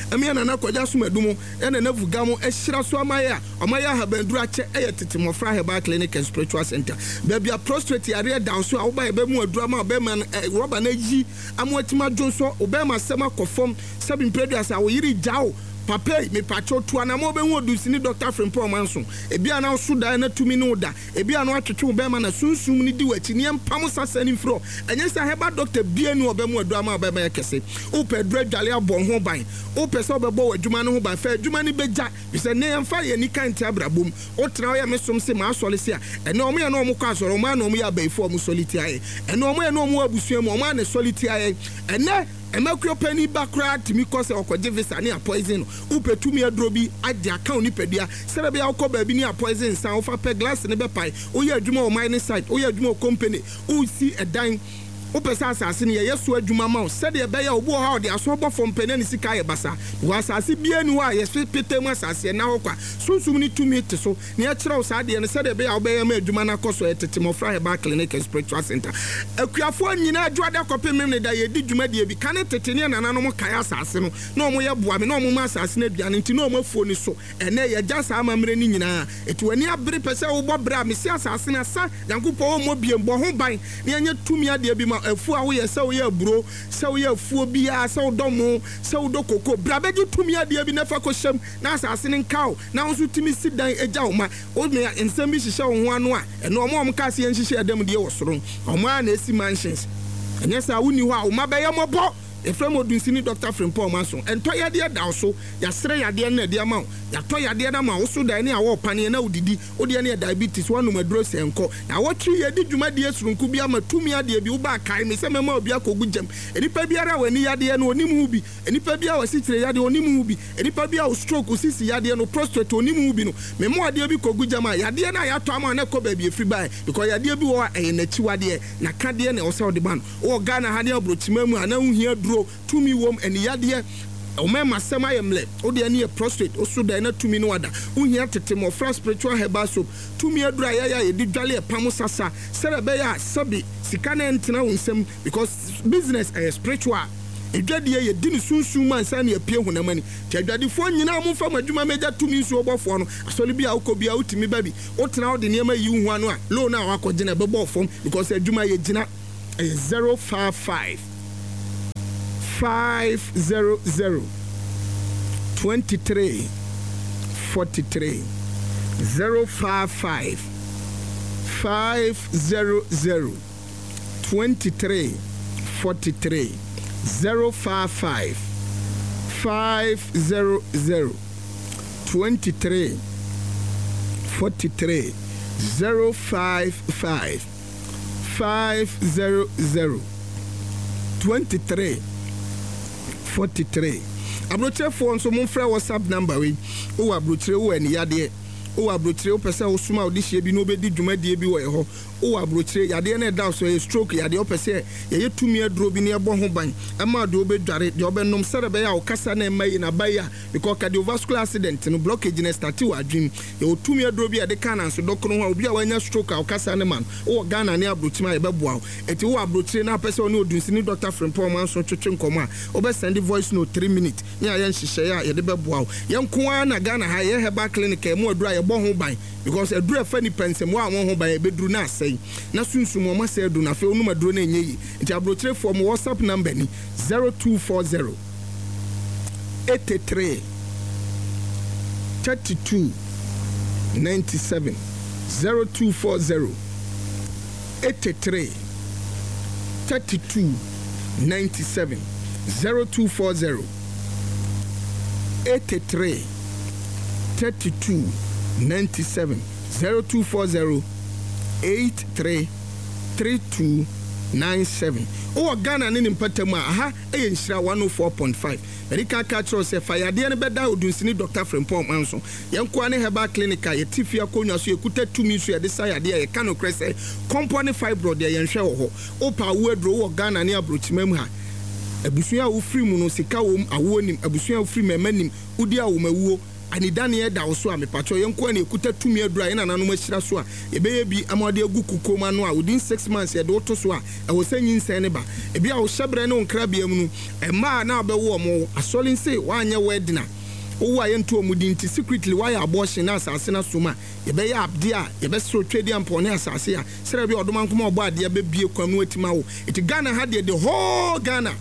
[SPEAKER 1] ɛme yɛ Nana Kwagye Asomadu mo yɛ Nana Vuga mo ahyira so ama yɛ a ɔma yɛ ahabanduro akyɛ ɛyɛ Tete Mmɔfra Herbal Clinic and Spiritual Center. Baabi a prostate yareɛ da wo so a woba yɛbɛmu aduro ama ɔbɛrima no ɛ rɔba no ayi ama watumi adwonsɔ wo bɛrima asɛm akɔ fam sɛbi mprɛduasa wo yere gya wo papa yi mepakyɛw tu anamɔ wobɛhu odusini Doctor Frimpong Manso. Ebi a na woso daeɛ na tumi ne wo da, ebi a na watwetwe wo bɛrima na sunsum no di w'akyi ne yɛmpam sasa no mfiri hɔ. Ɛnyɛ sɛ herbal doctor biara nni hɔ a ɔbɛma aduro ama wo bɛrima yɛ kɛse. Wopɛ aduro adwale abɔ wo ho ban, wopɛ sɛ wobɛbɔ w'adwuma no ho ban, fa adwuma no bɛgya, firi sɛ nnɛ yɛmfa yɛn ani ka nte abrabɔ mu. Wotena hɔ yɛ me som se m'asɔre se a, ɛnnɛ wɔn yɛ na wɔn kɔ asɔre, wɔn ara na wɔn yɛ abayifoɔ a wɔn sɔre tia yɛn. Ɛnnɛ wɔn yɛ na wɔn wɔ abusua mu, wɔn ara na ɛsɔre tia yɛn. Ɛnnɛ mmakuo panin ba koraa tumi kɔ sɛ ɔkɔgye visa ne apoison no. Wopɛ tumi aduro bi agye aka wo nipadua sɛdeɛ ɛbɛyɛ a wokɔ baabi ne apoison nsa wofa pɛ glass no bɛpae. Woyɛ adwuma wɔ mining site, woyɛ adwuma wɔ company, wosi ɛdan, wopɛ sɛ asase no yɛyɛ so adwuma ma wo sɛdeɛ ɛbɛyɛ a obi wɔ hɔ a ɔde aso bɔ fam pɛ na ne sika ayɛ basaa. Because asase biara nni hɔ a yɛse petee mu asase ɛnna hɔ kwa. Sunsum no tumi te so na yɛkyerɛ wo saa adeɛ no sɛdeɛ ɛbɛyɛ a wobɛyɛ ama adwuma no akɔ so. Ɛyɛ Tete Mmɔfra Herbal Clinic and Spiritual Center. Akuafoɔ nyinaa Dwoada kɔpem Memeneda yɛdi dwumadie bi. Kane tete ne nananom kae asase no na wɔyɛ boa me na wɔma asase no aduane nti na wɔn afuo no so. Ɛnnɛ yɛagya saa amammerɛ no nyinaa. Enti w'ani abere pɛ sɛ wobɔ bra a mese asase no asa Nyankopɔn ɔmmɔ biem. Bɔ ho ban na yɛnyɛ tumi adeɛ bi ma afuo a woyɛ sɛ woyɛ aburo, sɛ woyɛ afuo biara, sɛ wodɔ mo, sɛ wodɔ koko. Bra bɛgye tumi adeɛ bi na fa kɔhyɛ mu na asase no nka wo na wo nso tumi si dan gya wo ma. Wo me nsɛm bi hyehyɛ wo ho ano a, ɛno wɔn a wɔkaa sɛ yɛnhyehyɛ yɛn adanmudeɛ wɔ soro no, wɔn ara na ɛsi mansions. Ɛnyɛ saa a wonni hɔ a wo mma bɛyɛ mmɔbɔ. Yɛfrɛ mu Odunsini Doctor Frimpong Manso. Ɛntɔ yadeɛ da wo so, yɛasrɛ yadeɛ no na ɛde ama wo, yɛatɔ yadeɛ no ama wo so dae ne awɔ ɔpaneɛ na wodidi. Wodeɛ no yɛ diabetes, woanom aduro sɛ nkɔ na awɔtwe. Yɛdi dwumadie soronko bi ama tumi adeɛ bi. Wobaa kae me sɛ mɛma obi akɔgu gyam. Nnipa biara a w'ani yadeɛ no onim ho bi, nnipa bi a wɔasikyire yadeɛ onim ho bi, nnipa bi a wo stroke, sisi yadeɛ no, prostate onim ho bi no, mɛma adeɛ bi kɔgu gyam a yadeɛ no a yɛatɔ ama na ɛkɔ baabi efiri bae, because yadeɛ bi wɔ hɔ a ɛyɛ n'akyiwadeɛ na kadeɛ na ɛwɔ sɛ ɔde ba no. Wowɔ Ghana ha ne aburokyima mu a na wohia duro tumi wom, ani yadeɛ, ɔmɛma asɛm ayɛ mmerɛ, wodeɛ ne yɛ prostate, woso dan na tumi no wada, wohia Tete Mmɔfra Spiritual Herbal Soap, tumi aduro a yɛyɛ a yɛde dwale ɛpam sasa sɛdeɛ ɛbɛyɛ a sɛbi sika no ɛntena wo nsam, because business ɛyɛ spiritual. Edwadie yɛdi ne sunsun mu ansa ne apue honam ani. Nti adwadifoɔ nyinaa, momfa mo adwuma mɛgya tumi nsuo bɔfoɔ no. Asɔre bi a wokɔ bi a wotumi ba bi wotena wode nneɛma yi wo ho ano a loan a wakɔgye no ɛbɛbɔ fam, because adwuma yɛgyina. Ɛyɛ zero five five five zero zero twenty-three forty-three, zero five five five zero zero twenty-three forty-three, zero five five five zero zero twenty-three forty-three, zero five five five zero zero twenty-three forty-three. Aburokyerefoɔ nso, momfrɛ WhatsApp number wei. Wowɔ aburokyire, wowɔ aniyadeɛ, wowɔ aburokyire, wopɛ sɛ wosoma a wode hyia bi na wobɛdi dwumadie bi wɔ ɛhɔ, wowɔ aburokyire, yadeɛ no ɛda so ɛyɛ stroke yadeɛ, wopɛ sɛ yɛyɛ tumi aduro bi na yɛbɔ ho ban ɛma deɛ wobɛdware, deɛ wobɛnom, sɛdeɛ ɛbɛyɛ a wokasa na ɛma yi naba yi a, because cardiovascular accident no, blockage no start wɔ adwene. Yɛwɔ tumi aduro bi a yɛde ka nanso dɔkono ho a obi a wanya stroke a wokasa ne ma no. Wowɔ Ghana ne aburokyire a, yɛbɛboa wo. Ɛti wowɔ aburokyire na apɛ sɛ ɔne Odunsini Doctor Frimpong Manso twetwe nkɔmmɔ a, wobɛsend voice note three minutes ne ayɛ nhyehyɛeɛ a yɛde bɛboa wo. Yɛn nko ara na Ghana ha yɛyɛ herbal clinic a ɛmu aduro a yɛbɔ ho ban, because aduro ɛfa nipa nsɛm wo a wɔn ho ban ɛbɛduru na asɛe na sunsum wɔn asɛe aduro na afei onum aduro no ɛnyɛ yie. Nti aburokyerefoɔ, mo WhatsApp number ni: zero two four zero eighty three thirty two ninety seven, zero two four zero eighty three thirty two ninety seven, zero two four zero eighty three thirty two ninety seven, zero two four zero eight three three two nine seven. Wowɔ Ghana ne ne mpatamu a, aha ɛyɛ Nhyira one oh four point five. Mɛde ka ka kyerɛw sɛ fa yadeɛ no bɛda Odunsini Doctor Frimpong Manso. Yɛnkoa ne herbal clinic a yɛte fie akonnwa so, yɛkuta tumi so yɛde sa yadeɛ a yɛka nokorɛ sɛ kɔmpɔ ne fibroid deɛ, yɛnhwɛ wɔ hɔ. Wopɛ awo aduro, wowɔ Ghana ne aburokyima mu ha, abusua a wofiri mu no sika wɔ mu, awoɔ nim abusua a wofiri mu, ɛma nim wodi awomawuo anidaneɛ da wo so a, mepatwɛ, yɛn nkoa ne yɛkuta tumi aduro a yɛn nananom ahyira so a yɛbɛyɛ bi ama wɔde agu kukuom ano a within six months yɛde woto so a ɛwɔ sɛ nyinsɛn ne ba. Ebi a wohyɛ berɛ ne wo nkrabea mu no, mmaa na wabɛwo ɔmo asɔre nse woanyɛ wedding a wowo a yɛnto ɔmo din, nti secretly woayɛ abortion na asase no asom a, yɛbɛyɛ adeɛ a yɛbɛsrɛ twɛdi ampɔn ne asase a sɛdeɛ bi ɔdoma nkoma ɔbɔ adeɛ bɛbie kwan no atumi awo. Nti Ghana ha deɛ, the whole Ghana,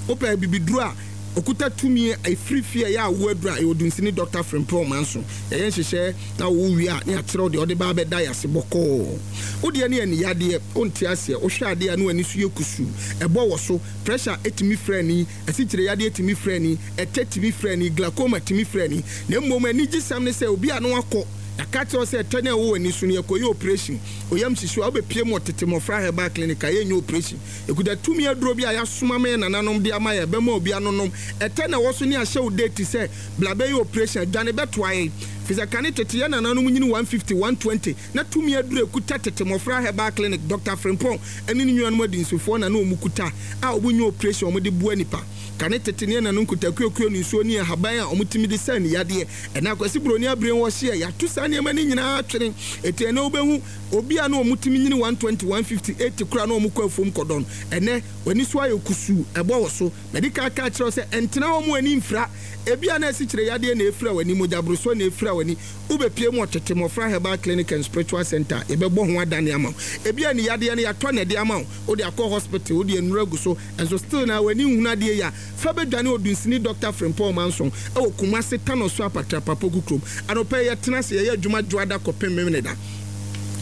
[SPEAKER 1] wopɛ bibiduro a okuta tumi efiri fie a ɛyɛ awo aduro a, ɛyɛ Odunsini Doctor Frimpong Manso. Yɛyɛ nhyehyɛ na wo wie a, ne akyerɛw deɛ ɔde ba abɛda yɛ ase bɔkɔɔ. Wodeɛ ne ani yadeɛ, wonte aseɛ, wohwɛ adeɛ a ne w'ani so yɛ kusuu, ɛbɔ wɔ so, pressure etumi frɛ ani, asikyire yadeɛ tumi frɛ ani, ɛtɛ tumi frɛ ani, glaucoma tumi frɛ ani. Na mmom anigye sɛm ne sɛ obi a no akɔ yɛaka kyerɛw sɛ ɛtɛ ne ɛwɔ w'ani so no, yɛkɔyɛ operation, oyam hyehyew a, wobɛpie mu ɔtete Mmɔfra Herbal Clinic a, yɛnyɛ operation. Ɛkuta tumi aduro bi a yɛasoma ma yɛ nananom de ama yɛ bɛma obi anonom ɛtɛ na ɛwɔ so ne ahyɛ wo date sɛ bla bɛyɛ operation, adwane bɛtoa yɛn fi sɛ kane tete yɛ nananom nyini one fifty, one twenty na tumi aduro ɛkuta Tete Mmɔfra Herbal Clinic, Doctor Frimpong ɛne ne nuanom adinsofoɔ na ne ɔmu kuta a ɔmu nyɛ operation, ɔmu de boa nipa. Kane tete ne ɛnanom kutakuakuo ne nsuo ne ahaban a ɔmotumi de sa ne yadeɛ. Ɛna Akwasi Buroni abere wɔ hyeɛ yɛato saa nneɛma no nyinaa twene. Ɛti ɛnɛ wobɛhu obi a na ɔmotumi nyini one twenty, one fifty, eighty koraa na ɔmo kɔ afuom kɔdɔn. Ɛnɛ w'ani so ayɛ kusuu, ɛbɔ wɔ so. Mɛde ka ka kyerɛw sɛ ɛntena hɔ mu ani mfira. Ebi a na asi kyerɛ yadeɛ na efira w'ani, mogyaborosoɔ na efira w'ani, wobɛpie mu ɔtete Mmɔfra Herbal Clinic and Spiritual Center, yɛbɛbɔ ho adane ama wo. Ebi a ne yadeɛ no yɛatɔ na ɛde ama wo, wode akɔ hospital, wode nnuro agu so, ɛnso still na w'ani nhunu adeɛ yi a, fa bɛdwane Odunsini Doctor Frimpong Manso ɛwɔ Kumase, Tano so Apatrapa Poku kurom. Anɔpɛ yɛtena ase yɛyɛ adwuma dwoada kɔpem Memeneda.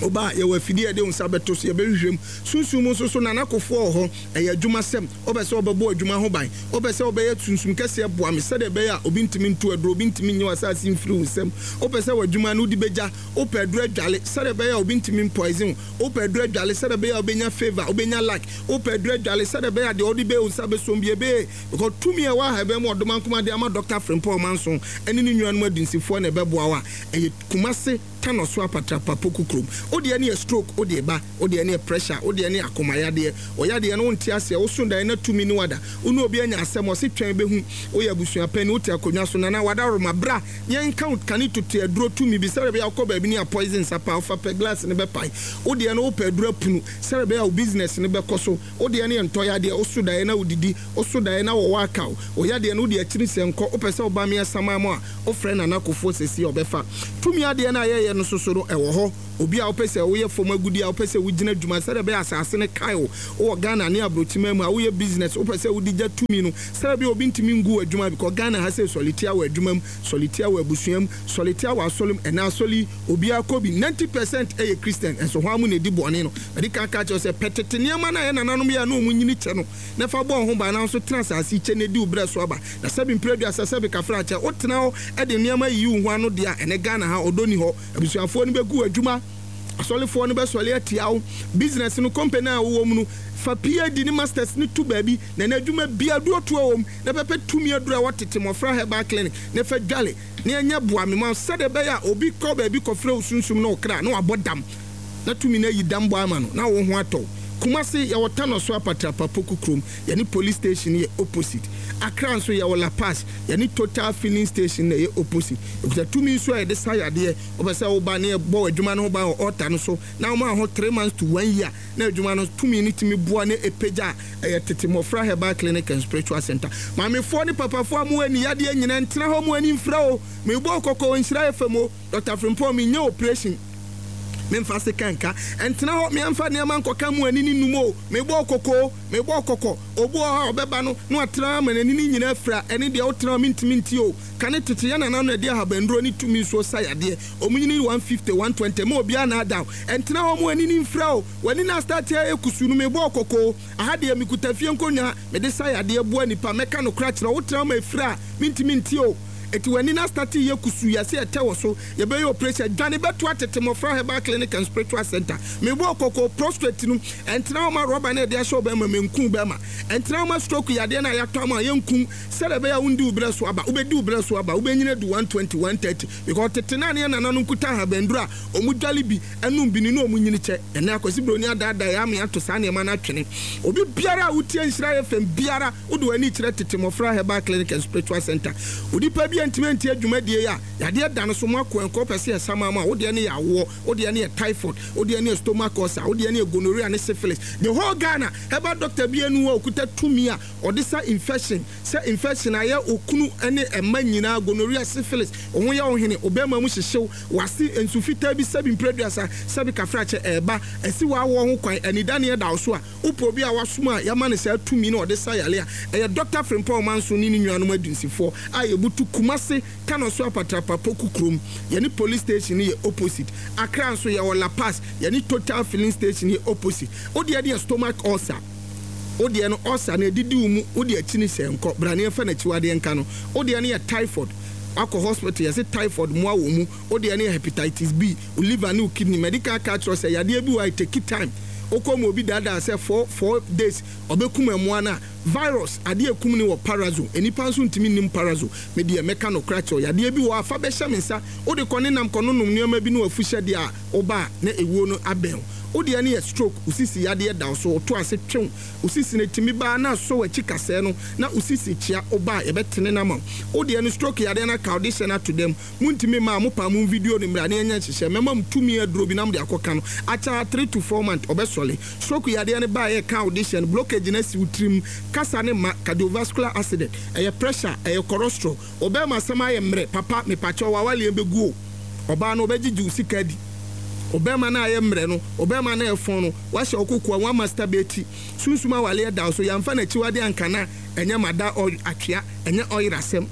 [SPEAKER 1] Woba, yɛwɔ afidie a yɛde wo nsa bɛto so, yɛbɛhwehwɛ mu. Sunsum mu nso so, Nana Kofoɔ wɔ hɔ. Ɛyɛ adwuma sɛm. Wopɛ sɛ wobɛbɔ adwuma ho ban, wopɛ sɛ wobɛyɛ sunsum kɛseɛ, boa me sɛdeɛ ɛbɛyɛ a obi ntumi nto aduro, obi ntumi nye w'asase mfiri wo nsam. Wopɛ sɛ w'adwuma no wode bɛgya, wopɛ aduro adwale sɛdeɛ ɛbɛyɛ a obi ntumi mpoison wo, wopɛ aduro adwale sɛdeɛ ɛbɛyɛ a wobɛnya favour, wobɛnya luck, wopɛ aduro adwale sɛdeɛ ɛbɛyɛ a deɛ wode bɛyɛ wo nsa bɛsom bi ɛbɛyɛ, because tumi a ɛwɔ aha ɛbɛn mu ɔdoma de ama Doctor Frimpong Ɔmanso ɛne ne nuanom adunsifoɔ na ɛbɛboa wo a, ɛyɛ Kumase Tanɔ so Apatrapa Poku kurom. Wodeɛ ne yɛ stroke, wodeɛ ba, wodeɛ ne yɛ pressure, wodeɛ ne yɛ akomayadeɛ, ɔyadeɛ no wonte aseɛ, woso dan na tumi ne wada, wo ne obi anya asɛm, ɔse twɛn bɛhu, woyɛ abusua pani, wote akonnwa so, Nana wadaroma, bra yɛnka wo kane tote aduro tumi bi sɛdeɛ ɛbɛyɛ wokɔ baabi ne a poison nsa pa wofa pɛ glass ne bɛpae. Wodeɛ no wopɛ aduro apunu sɛdeɛ ɛbɛyɛ wo business ne bɛkɔ so. Wodeɛ ne yɛ ntɔyadeɛ, woso daeɛ na wodidi, woso daeɛ na wɔwɔ aka wo, ɔyadeɛ no wode akyiri sɛ nkɔ, wopɛ sɛ woba meɛ sama mu a, wofrɛ Nana Kofoɔ sɛsi a ɔbɛfa tumi adeɛ no a yɛyɛ no soso no ɛwɔ hɔ. Obi a wopɛ sɛ woyɛ fam agudi a wopɛ sɛ wogyina adwuma sɛdeɛ ɛbɛyɛ asase no kae wo, wowɔ Ghana ne aburokyima mu a woyɛ business, wopɛ sɛ wode gya tumi no sɛdeɛ ɛbɛyɛ obi ntumi ngu wɔ adwuma, because Ghana ha sɛ sɔletia wɔ adwuma mu, sɔletia wɔ abusua mu, sɔletia wɔ asɔre mu. Ɛna asɔre yi obiara kɔ bi, ninety percent ɛyɛ Christian, ɛnso hɔ amu na ɛdi bɔne no. Ɛde kan ka kyerɛ sɛ pɛ tete nneɛma no a yɛ nananom yɛ a na ɔmu nyini kyɛ no na fa bɔ ho ban na nso tena asase kyɛ na edi wo brɛ so aba. Na sɛbi mpere aduasa, sɛbi kafra kyɛ, wotena hɔ ɛde nneɛma yiyi wo ho ano deɛ a, ɛnɛ Ghana ha ɔdɔ ni hɔ. Abusuafoɔ no bɛgu adwuma, asɔlefoɔ no bɛsɔle atia wo, business no, company a wowɔ mu no, fa P H D ne masters ne to baabi na na adwuma bia duro toa wɔ mu na pɛpɛ tumi aduro a wɔtete Mmɔfra Herbal Clinic na fa dwale na ɛnyɛ boa me ma sɛdeɛ ɛbɛyɛ a obi kɔ baabi kɔfrɛ wo sunsum na ɔkra na wabɔ dam na tumi no ayi dam bɔ ama no na wo ho atɔ. Kumase yɛwɔ Tanɔ so Apatrapa Poku kurom, yɛne police station yɛ opposite. Accra nso yɛwɔ La Pass, yɛne Total filling station na ɛyɛ opposite. Ekuta tumi nso a yɛde sa yadeɛ. Wɔpɛ sɛ woba ne yɛbɔ adwuma no ho ban wɔ altar no so na wɔn ho three months to one year na adwuma no tumi no tumi boa ne epagya a, ɛyɛ Tete Mmɔfra Herbal Clinic and Spiritual Center. Maamefoɔ ne papafoɔ a mo ani yadeɛ nyinaa, ntena hɔ mo ani mfira o. Mebɔ kɔkɔ, Nhyira F M o. Doctor Frimpong, menyɛ operation, memfa se kanka, ɛntena hɔ meɛmfa nneɛma nkɔka mu ani ne num o. Mebɔ kɔkɔ, mebɔ kɔkɔ. Obi wɔ hɔ a ɔbɛba no na watena ama n'ani ne nyinaa fira. Ɛne deɛ wotena hɔ mentumi nti o. Kane tete yɛ nana no ɛde ahabanduro ne tumi nsuo sa yadeɛ, ɔmu nyini one fifty, one twenty ma obiara na ada o. Ɛntena hɔ mu ani ne mfira o. W'ani na start ayɛ kusu no, mebɔ kɔkɔ. Aha deɛ mekuta fie nkonnwa mede sa yadeɛ boa nipa. Mɛka no kora kyerɛ wotena ma efira a, mentumi nti o. Eti w'ani na start yɛ kusu, yɛsɛ ɛtɛ wɔ so, yɛbɛyɛ operation, dwane bɛto atete Mmɔfra Herbal Clinic and Spiritual Center. Mebɔ kɔkɔ. Prostate no, ɛntena hɔ ma rɔba no yɛde ahyɛ ɔbɛrima menku bɛrima. Ɛntena hɔ ma stroke yadeɛ no a yɛatɔ ama yɛnkum sɛdeɛ ɛbɛyɛ a wondi wo berɛ so aba. Wobɛdi wo berɛ so aba, wobɛnyina du one twenty, one thirty, because tete naa ne yɛ nananom kuta ahabanduro a ɔmu dwale bi ɛnum bi ni na ɔmu nyini kyɛ. Ɛnɛ Akwasi Buroni adaadaa yɛ ame ato saa nneɛma no atwene. Obi biara a wotie Nhyira F M biara, wode w'ani kyerɛ Tete Mmɔfra Herbal Clinic and Spiritual Center. Onipa bi a ntumi ntie dwumadie yi a yadeɛ da no so mu akɔ nkɔ pɛ sɛ yɛsama mu a, wodeɛ ne yɛ awoɔ, wodeɛ ne yɛ typhoid, wodeɛ ne yɛ stomach ulcer, wodeɛ ne yɛ gonorrhea ne syphilis, the whole Ghana herbal doctor bi anu a okuta tumi a ɔde sa infection, sɛ infection ayɛ okunu ne ɛma nyinaa, gonorrhea, syphilis, wo ho yɛ wo hene, ɔbɛrima mu hyehyew, wase nsu fitaa bi, sɛbi mprɛduasa, sɛbi kafrakyɛ ɛɛba ɛsi w'awoɔ ho kwan, anidaneɛ da wo so a, wopɛ obi a wasom a yɛama no saa tumi na ɔde sa yale a, ɛyɛ Doctor Frimpong Ɔmanso ne ne nuanom adunsifoɔ a yɛbutu Kumase Tano so Apatrapa Poku kurom, yɛne police station no yɛ opposite. Accra nso yɛwɔ La Pass, yɛne Total filling station yɛ opposite. Wodeɛ ne yɛ stomach ulcer, wodeɛ no ulcer na ɛdidi wo mu, wode akyi ne sɛ nkɔ braneɛ fa n'akyiwadeɛ nka no. Wodeɛ no yɛ typhoid, akɔ hospital yɛsɛ typhoid mmoa wɔ mu. Wodeɛ no yɛ hepatitis B, wo liver ne wo kidney. Medical ka kyerɛ sɛ yadeɛ bi wɔ a take time, wokɔ mu obi daadaa sɛ four four days ɔbɛkum mmoa no a, virus adeɛ ekum ne wɔ parazo, nipa nso ntumi nim parazo. Me deɛ mɛka no kora kyerɛw, yadeɛ bi wɔ afa bɛhyɛ me nsa, wode kɔ ne nam kɔ no nom nneɛma bi ne wafu hyɛdeɛ a woba a na ewuo no abɛn. Wodeɛ no yɛ stroke, osisi yadeɛ da so, woto ase twew osisi no tumi baa na asɔ w'akyi kasɛɛ no na osisi kyia, woba a yɛbɛtene no ama wo. Wodeɛ no stroke yadeɛ no aka, wode hyɛ no ato dɛm, muntumi ma mo pa mo video no mmra ne ɛnyɛ nhyehyɛ mɛma mo tumi aduro bi na mo de akɔka no akyɛ three to four months ɔbɛsɔle. Stroke yadeɛ no baa yɛ ka wode hyɛ no, blockage no asi wo tirim, kasa ne ma cardiovascular accident, ɛyɛ pressure, ɛyɛ cholesterol, ɔbɛrima asɛm ayɛ mmerɛ papa, mepakyɛw, wawaleɛ bɛgu o. Ɔbaa no ɔbɛgyegye wo sika di, ɔbɛrima no ayɛ mmerɛ no, ɔbɛrima no ɛfɔn no, wahyɛ ɔkokoa wɔn masturbate, sunsum awaleɛ da so, yɛmfa n'akyiwade anka na ɛnyɛ mada atwea, ɛnyɛ ɔyerɛ asɛm.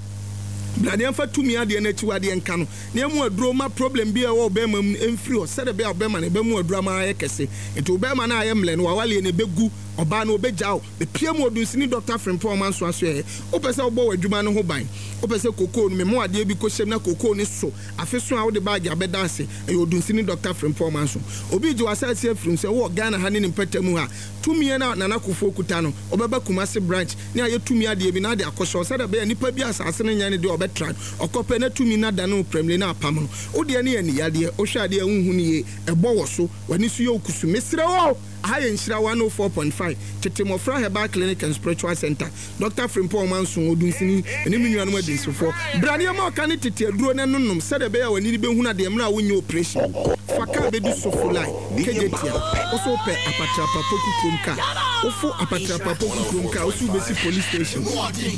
[SPEAKER 1] Bra ne yɛmfa tumi adeɛ no akyiwadeɛ nka no, na yɛmu aduro ma problem bi a ɛwɔ ɔbɛrima mu mfiri hɔ, sɛdeɛ ɛbɛyɛ a ɔbɛrima no ɛbɛmu aduro ama ayɛ kɛse. Nti ɔbɛrima no ayɛ mmerɛ no, wawaleɛ no ɛbɛgu, ɔbaa no ɔbɛgya wo. Bepia mu Odunsini Doctor Frimpong Ɔmanso Asoɛeɛ. Wopɛ sɛ wobɔ w'adwuma no ho ban, wopɛ sɛ kokoo no memo adeɛ bi kɔhyɛm na kokoo no so afe so a wode baage abɛda ase, ɛyɛ Odunsini Doctor Frimpong Ɔmanso. Obi gye w'asase afiri mu sɛ wowɔ Ghana ha ne ne mpɛtɛ mu ha, tumi no a Nana Kufuor kuta no, ɔbɛba Kumasi branch ne ayɛ tumi adeɛ bi na ade akɔhyɛ hɔ sɛdeɛ ɛbɛyɛ nipa bi asase no nyɛ ne deɛ ɔbɛtra no, ɔkɔpɛ na tumi no adane wo prɛmire na apam no. Wo deɛ no yɛ aniyadeɛ, wohwɛ adeɛ a wonhu no yie, ɛbɔ wɔ so, w'ani so yɛ wo kusu. Mesrɛ wo, aha yɛ Nhyira one oh four point five, Tete Mmɔfra Herbal Clinic and Spiritual Center, Doctor Frimpong Ɔmanso, Odunsini, ne me nuanom adunsifoɔ. Bra ne yɛma ɔka ne tete aduro no ɛnonom sɛdeɛ ɛbɛyɛ a w'ani no bɛhunu adeɛ mmerɛ a wonyɛ operation. Fa kaa bɛdu Sofo line, Kejetia, wo so wopɛ Apatrapa Poku kurom kaa, wofo Apatrapa Poku kurom kaa, wo so wobɛsi police station,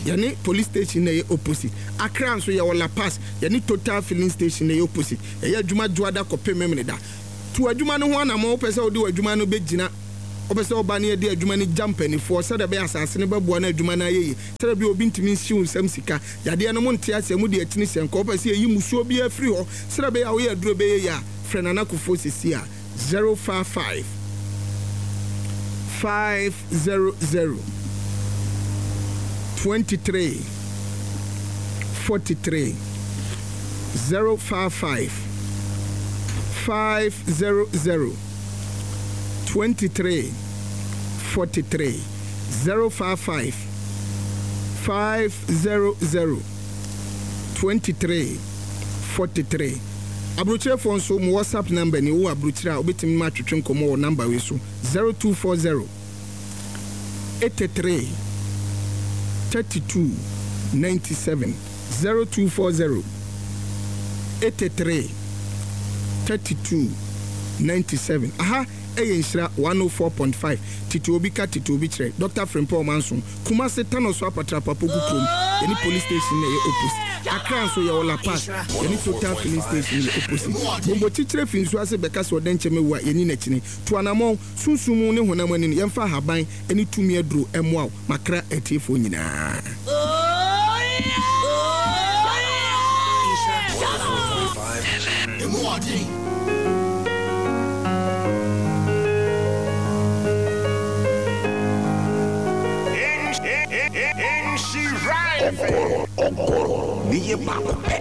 [SPEAKER 1] yɛne police station na ɛyɛ opposite. Accra nso yɛwɔ La Paz, yɛne Total filling station na ɛyɛ opposite. Ɛyɛ adwuma dwoada kɔpem Memeneda. Tu adwuma no ho anammɔn, wopɛ sɛ wode w'adwuma no bɛgyina, wopɛ sɛ woba ne yɛde adwuma no gya mpanimfoɔ sɛdeɛ ɛbɛyɛ asase no bɛboa no adwuma no ayɛ yie, sɛdeɛ ɛbɛyɛ obi ntumi nsi wo nsam sika, yadeɛ no mo nte aseɛ, mode akyini sɛ nkɔ, wopɛ sɛ yɛyi musuo biara firi hɔ sɛdeɛ ɛbɛyɛ a woyɛ aduro bɛyɛ yie a, frɛ Nana Kufuor sisi a zero five five five zero zero twenty-three forty-three, zero five five five zero zero twenty-three forty-three, zero five five five zero zero twenty-three forty-three. Aburokyerɛfoɔ nso mo WhatsApp number ni wo aburokyerɛ a wobɛtumi ma atwetwe nkɔmmɔ wɔ number wei so zero two four zero eighty-three thirty-two ninety-seven, zero two four zero eighty-three thirty-two ninety-seven. Aha ɛyɛ Nhyira one oh four point five. Tete obi ka tete obi kyerɛ. Doctor Frimpong Ɔmanso, Kumasi Tanoso Apatrapa Poku kurom, yɛne police station na ɛyɛ opposite. Accra nso yɛwɔ La Paz, yɛne Total filling station yɛ opposite. Bombo kyikyire fi nsuo ase bɛka sɛ ɔdɛ nkyɛn ewu a yɛni n'akyini. To anammɔn sunsun mu ne honam ani no, yɛmfa ahaban ne tumi aduro ɛmmoa wo makra atiefoɔ nyinaa.
[SPEAKER 2] Ogoro, ogoro, niye baako pɛ.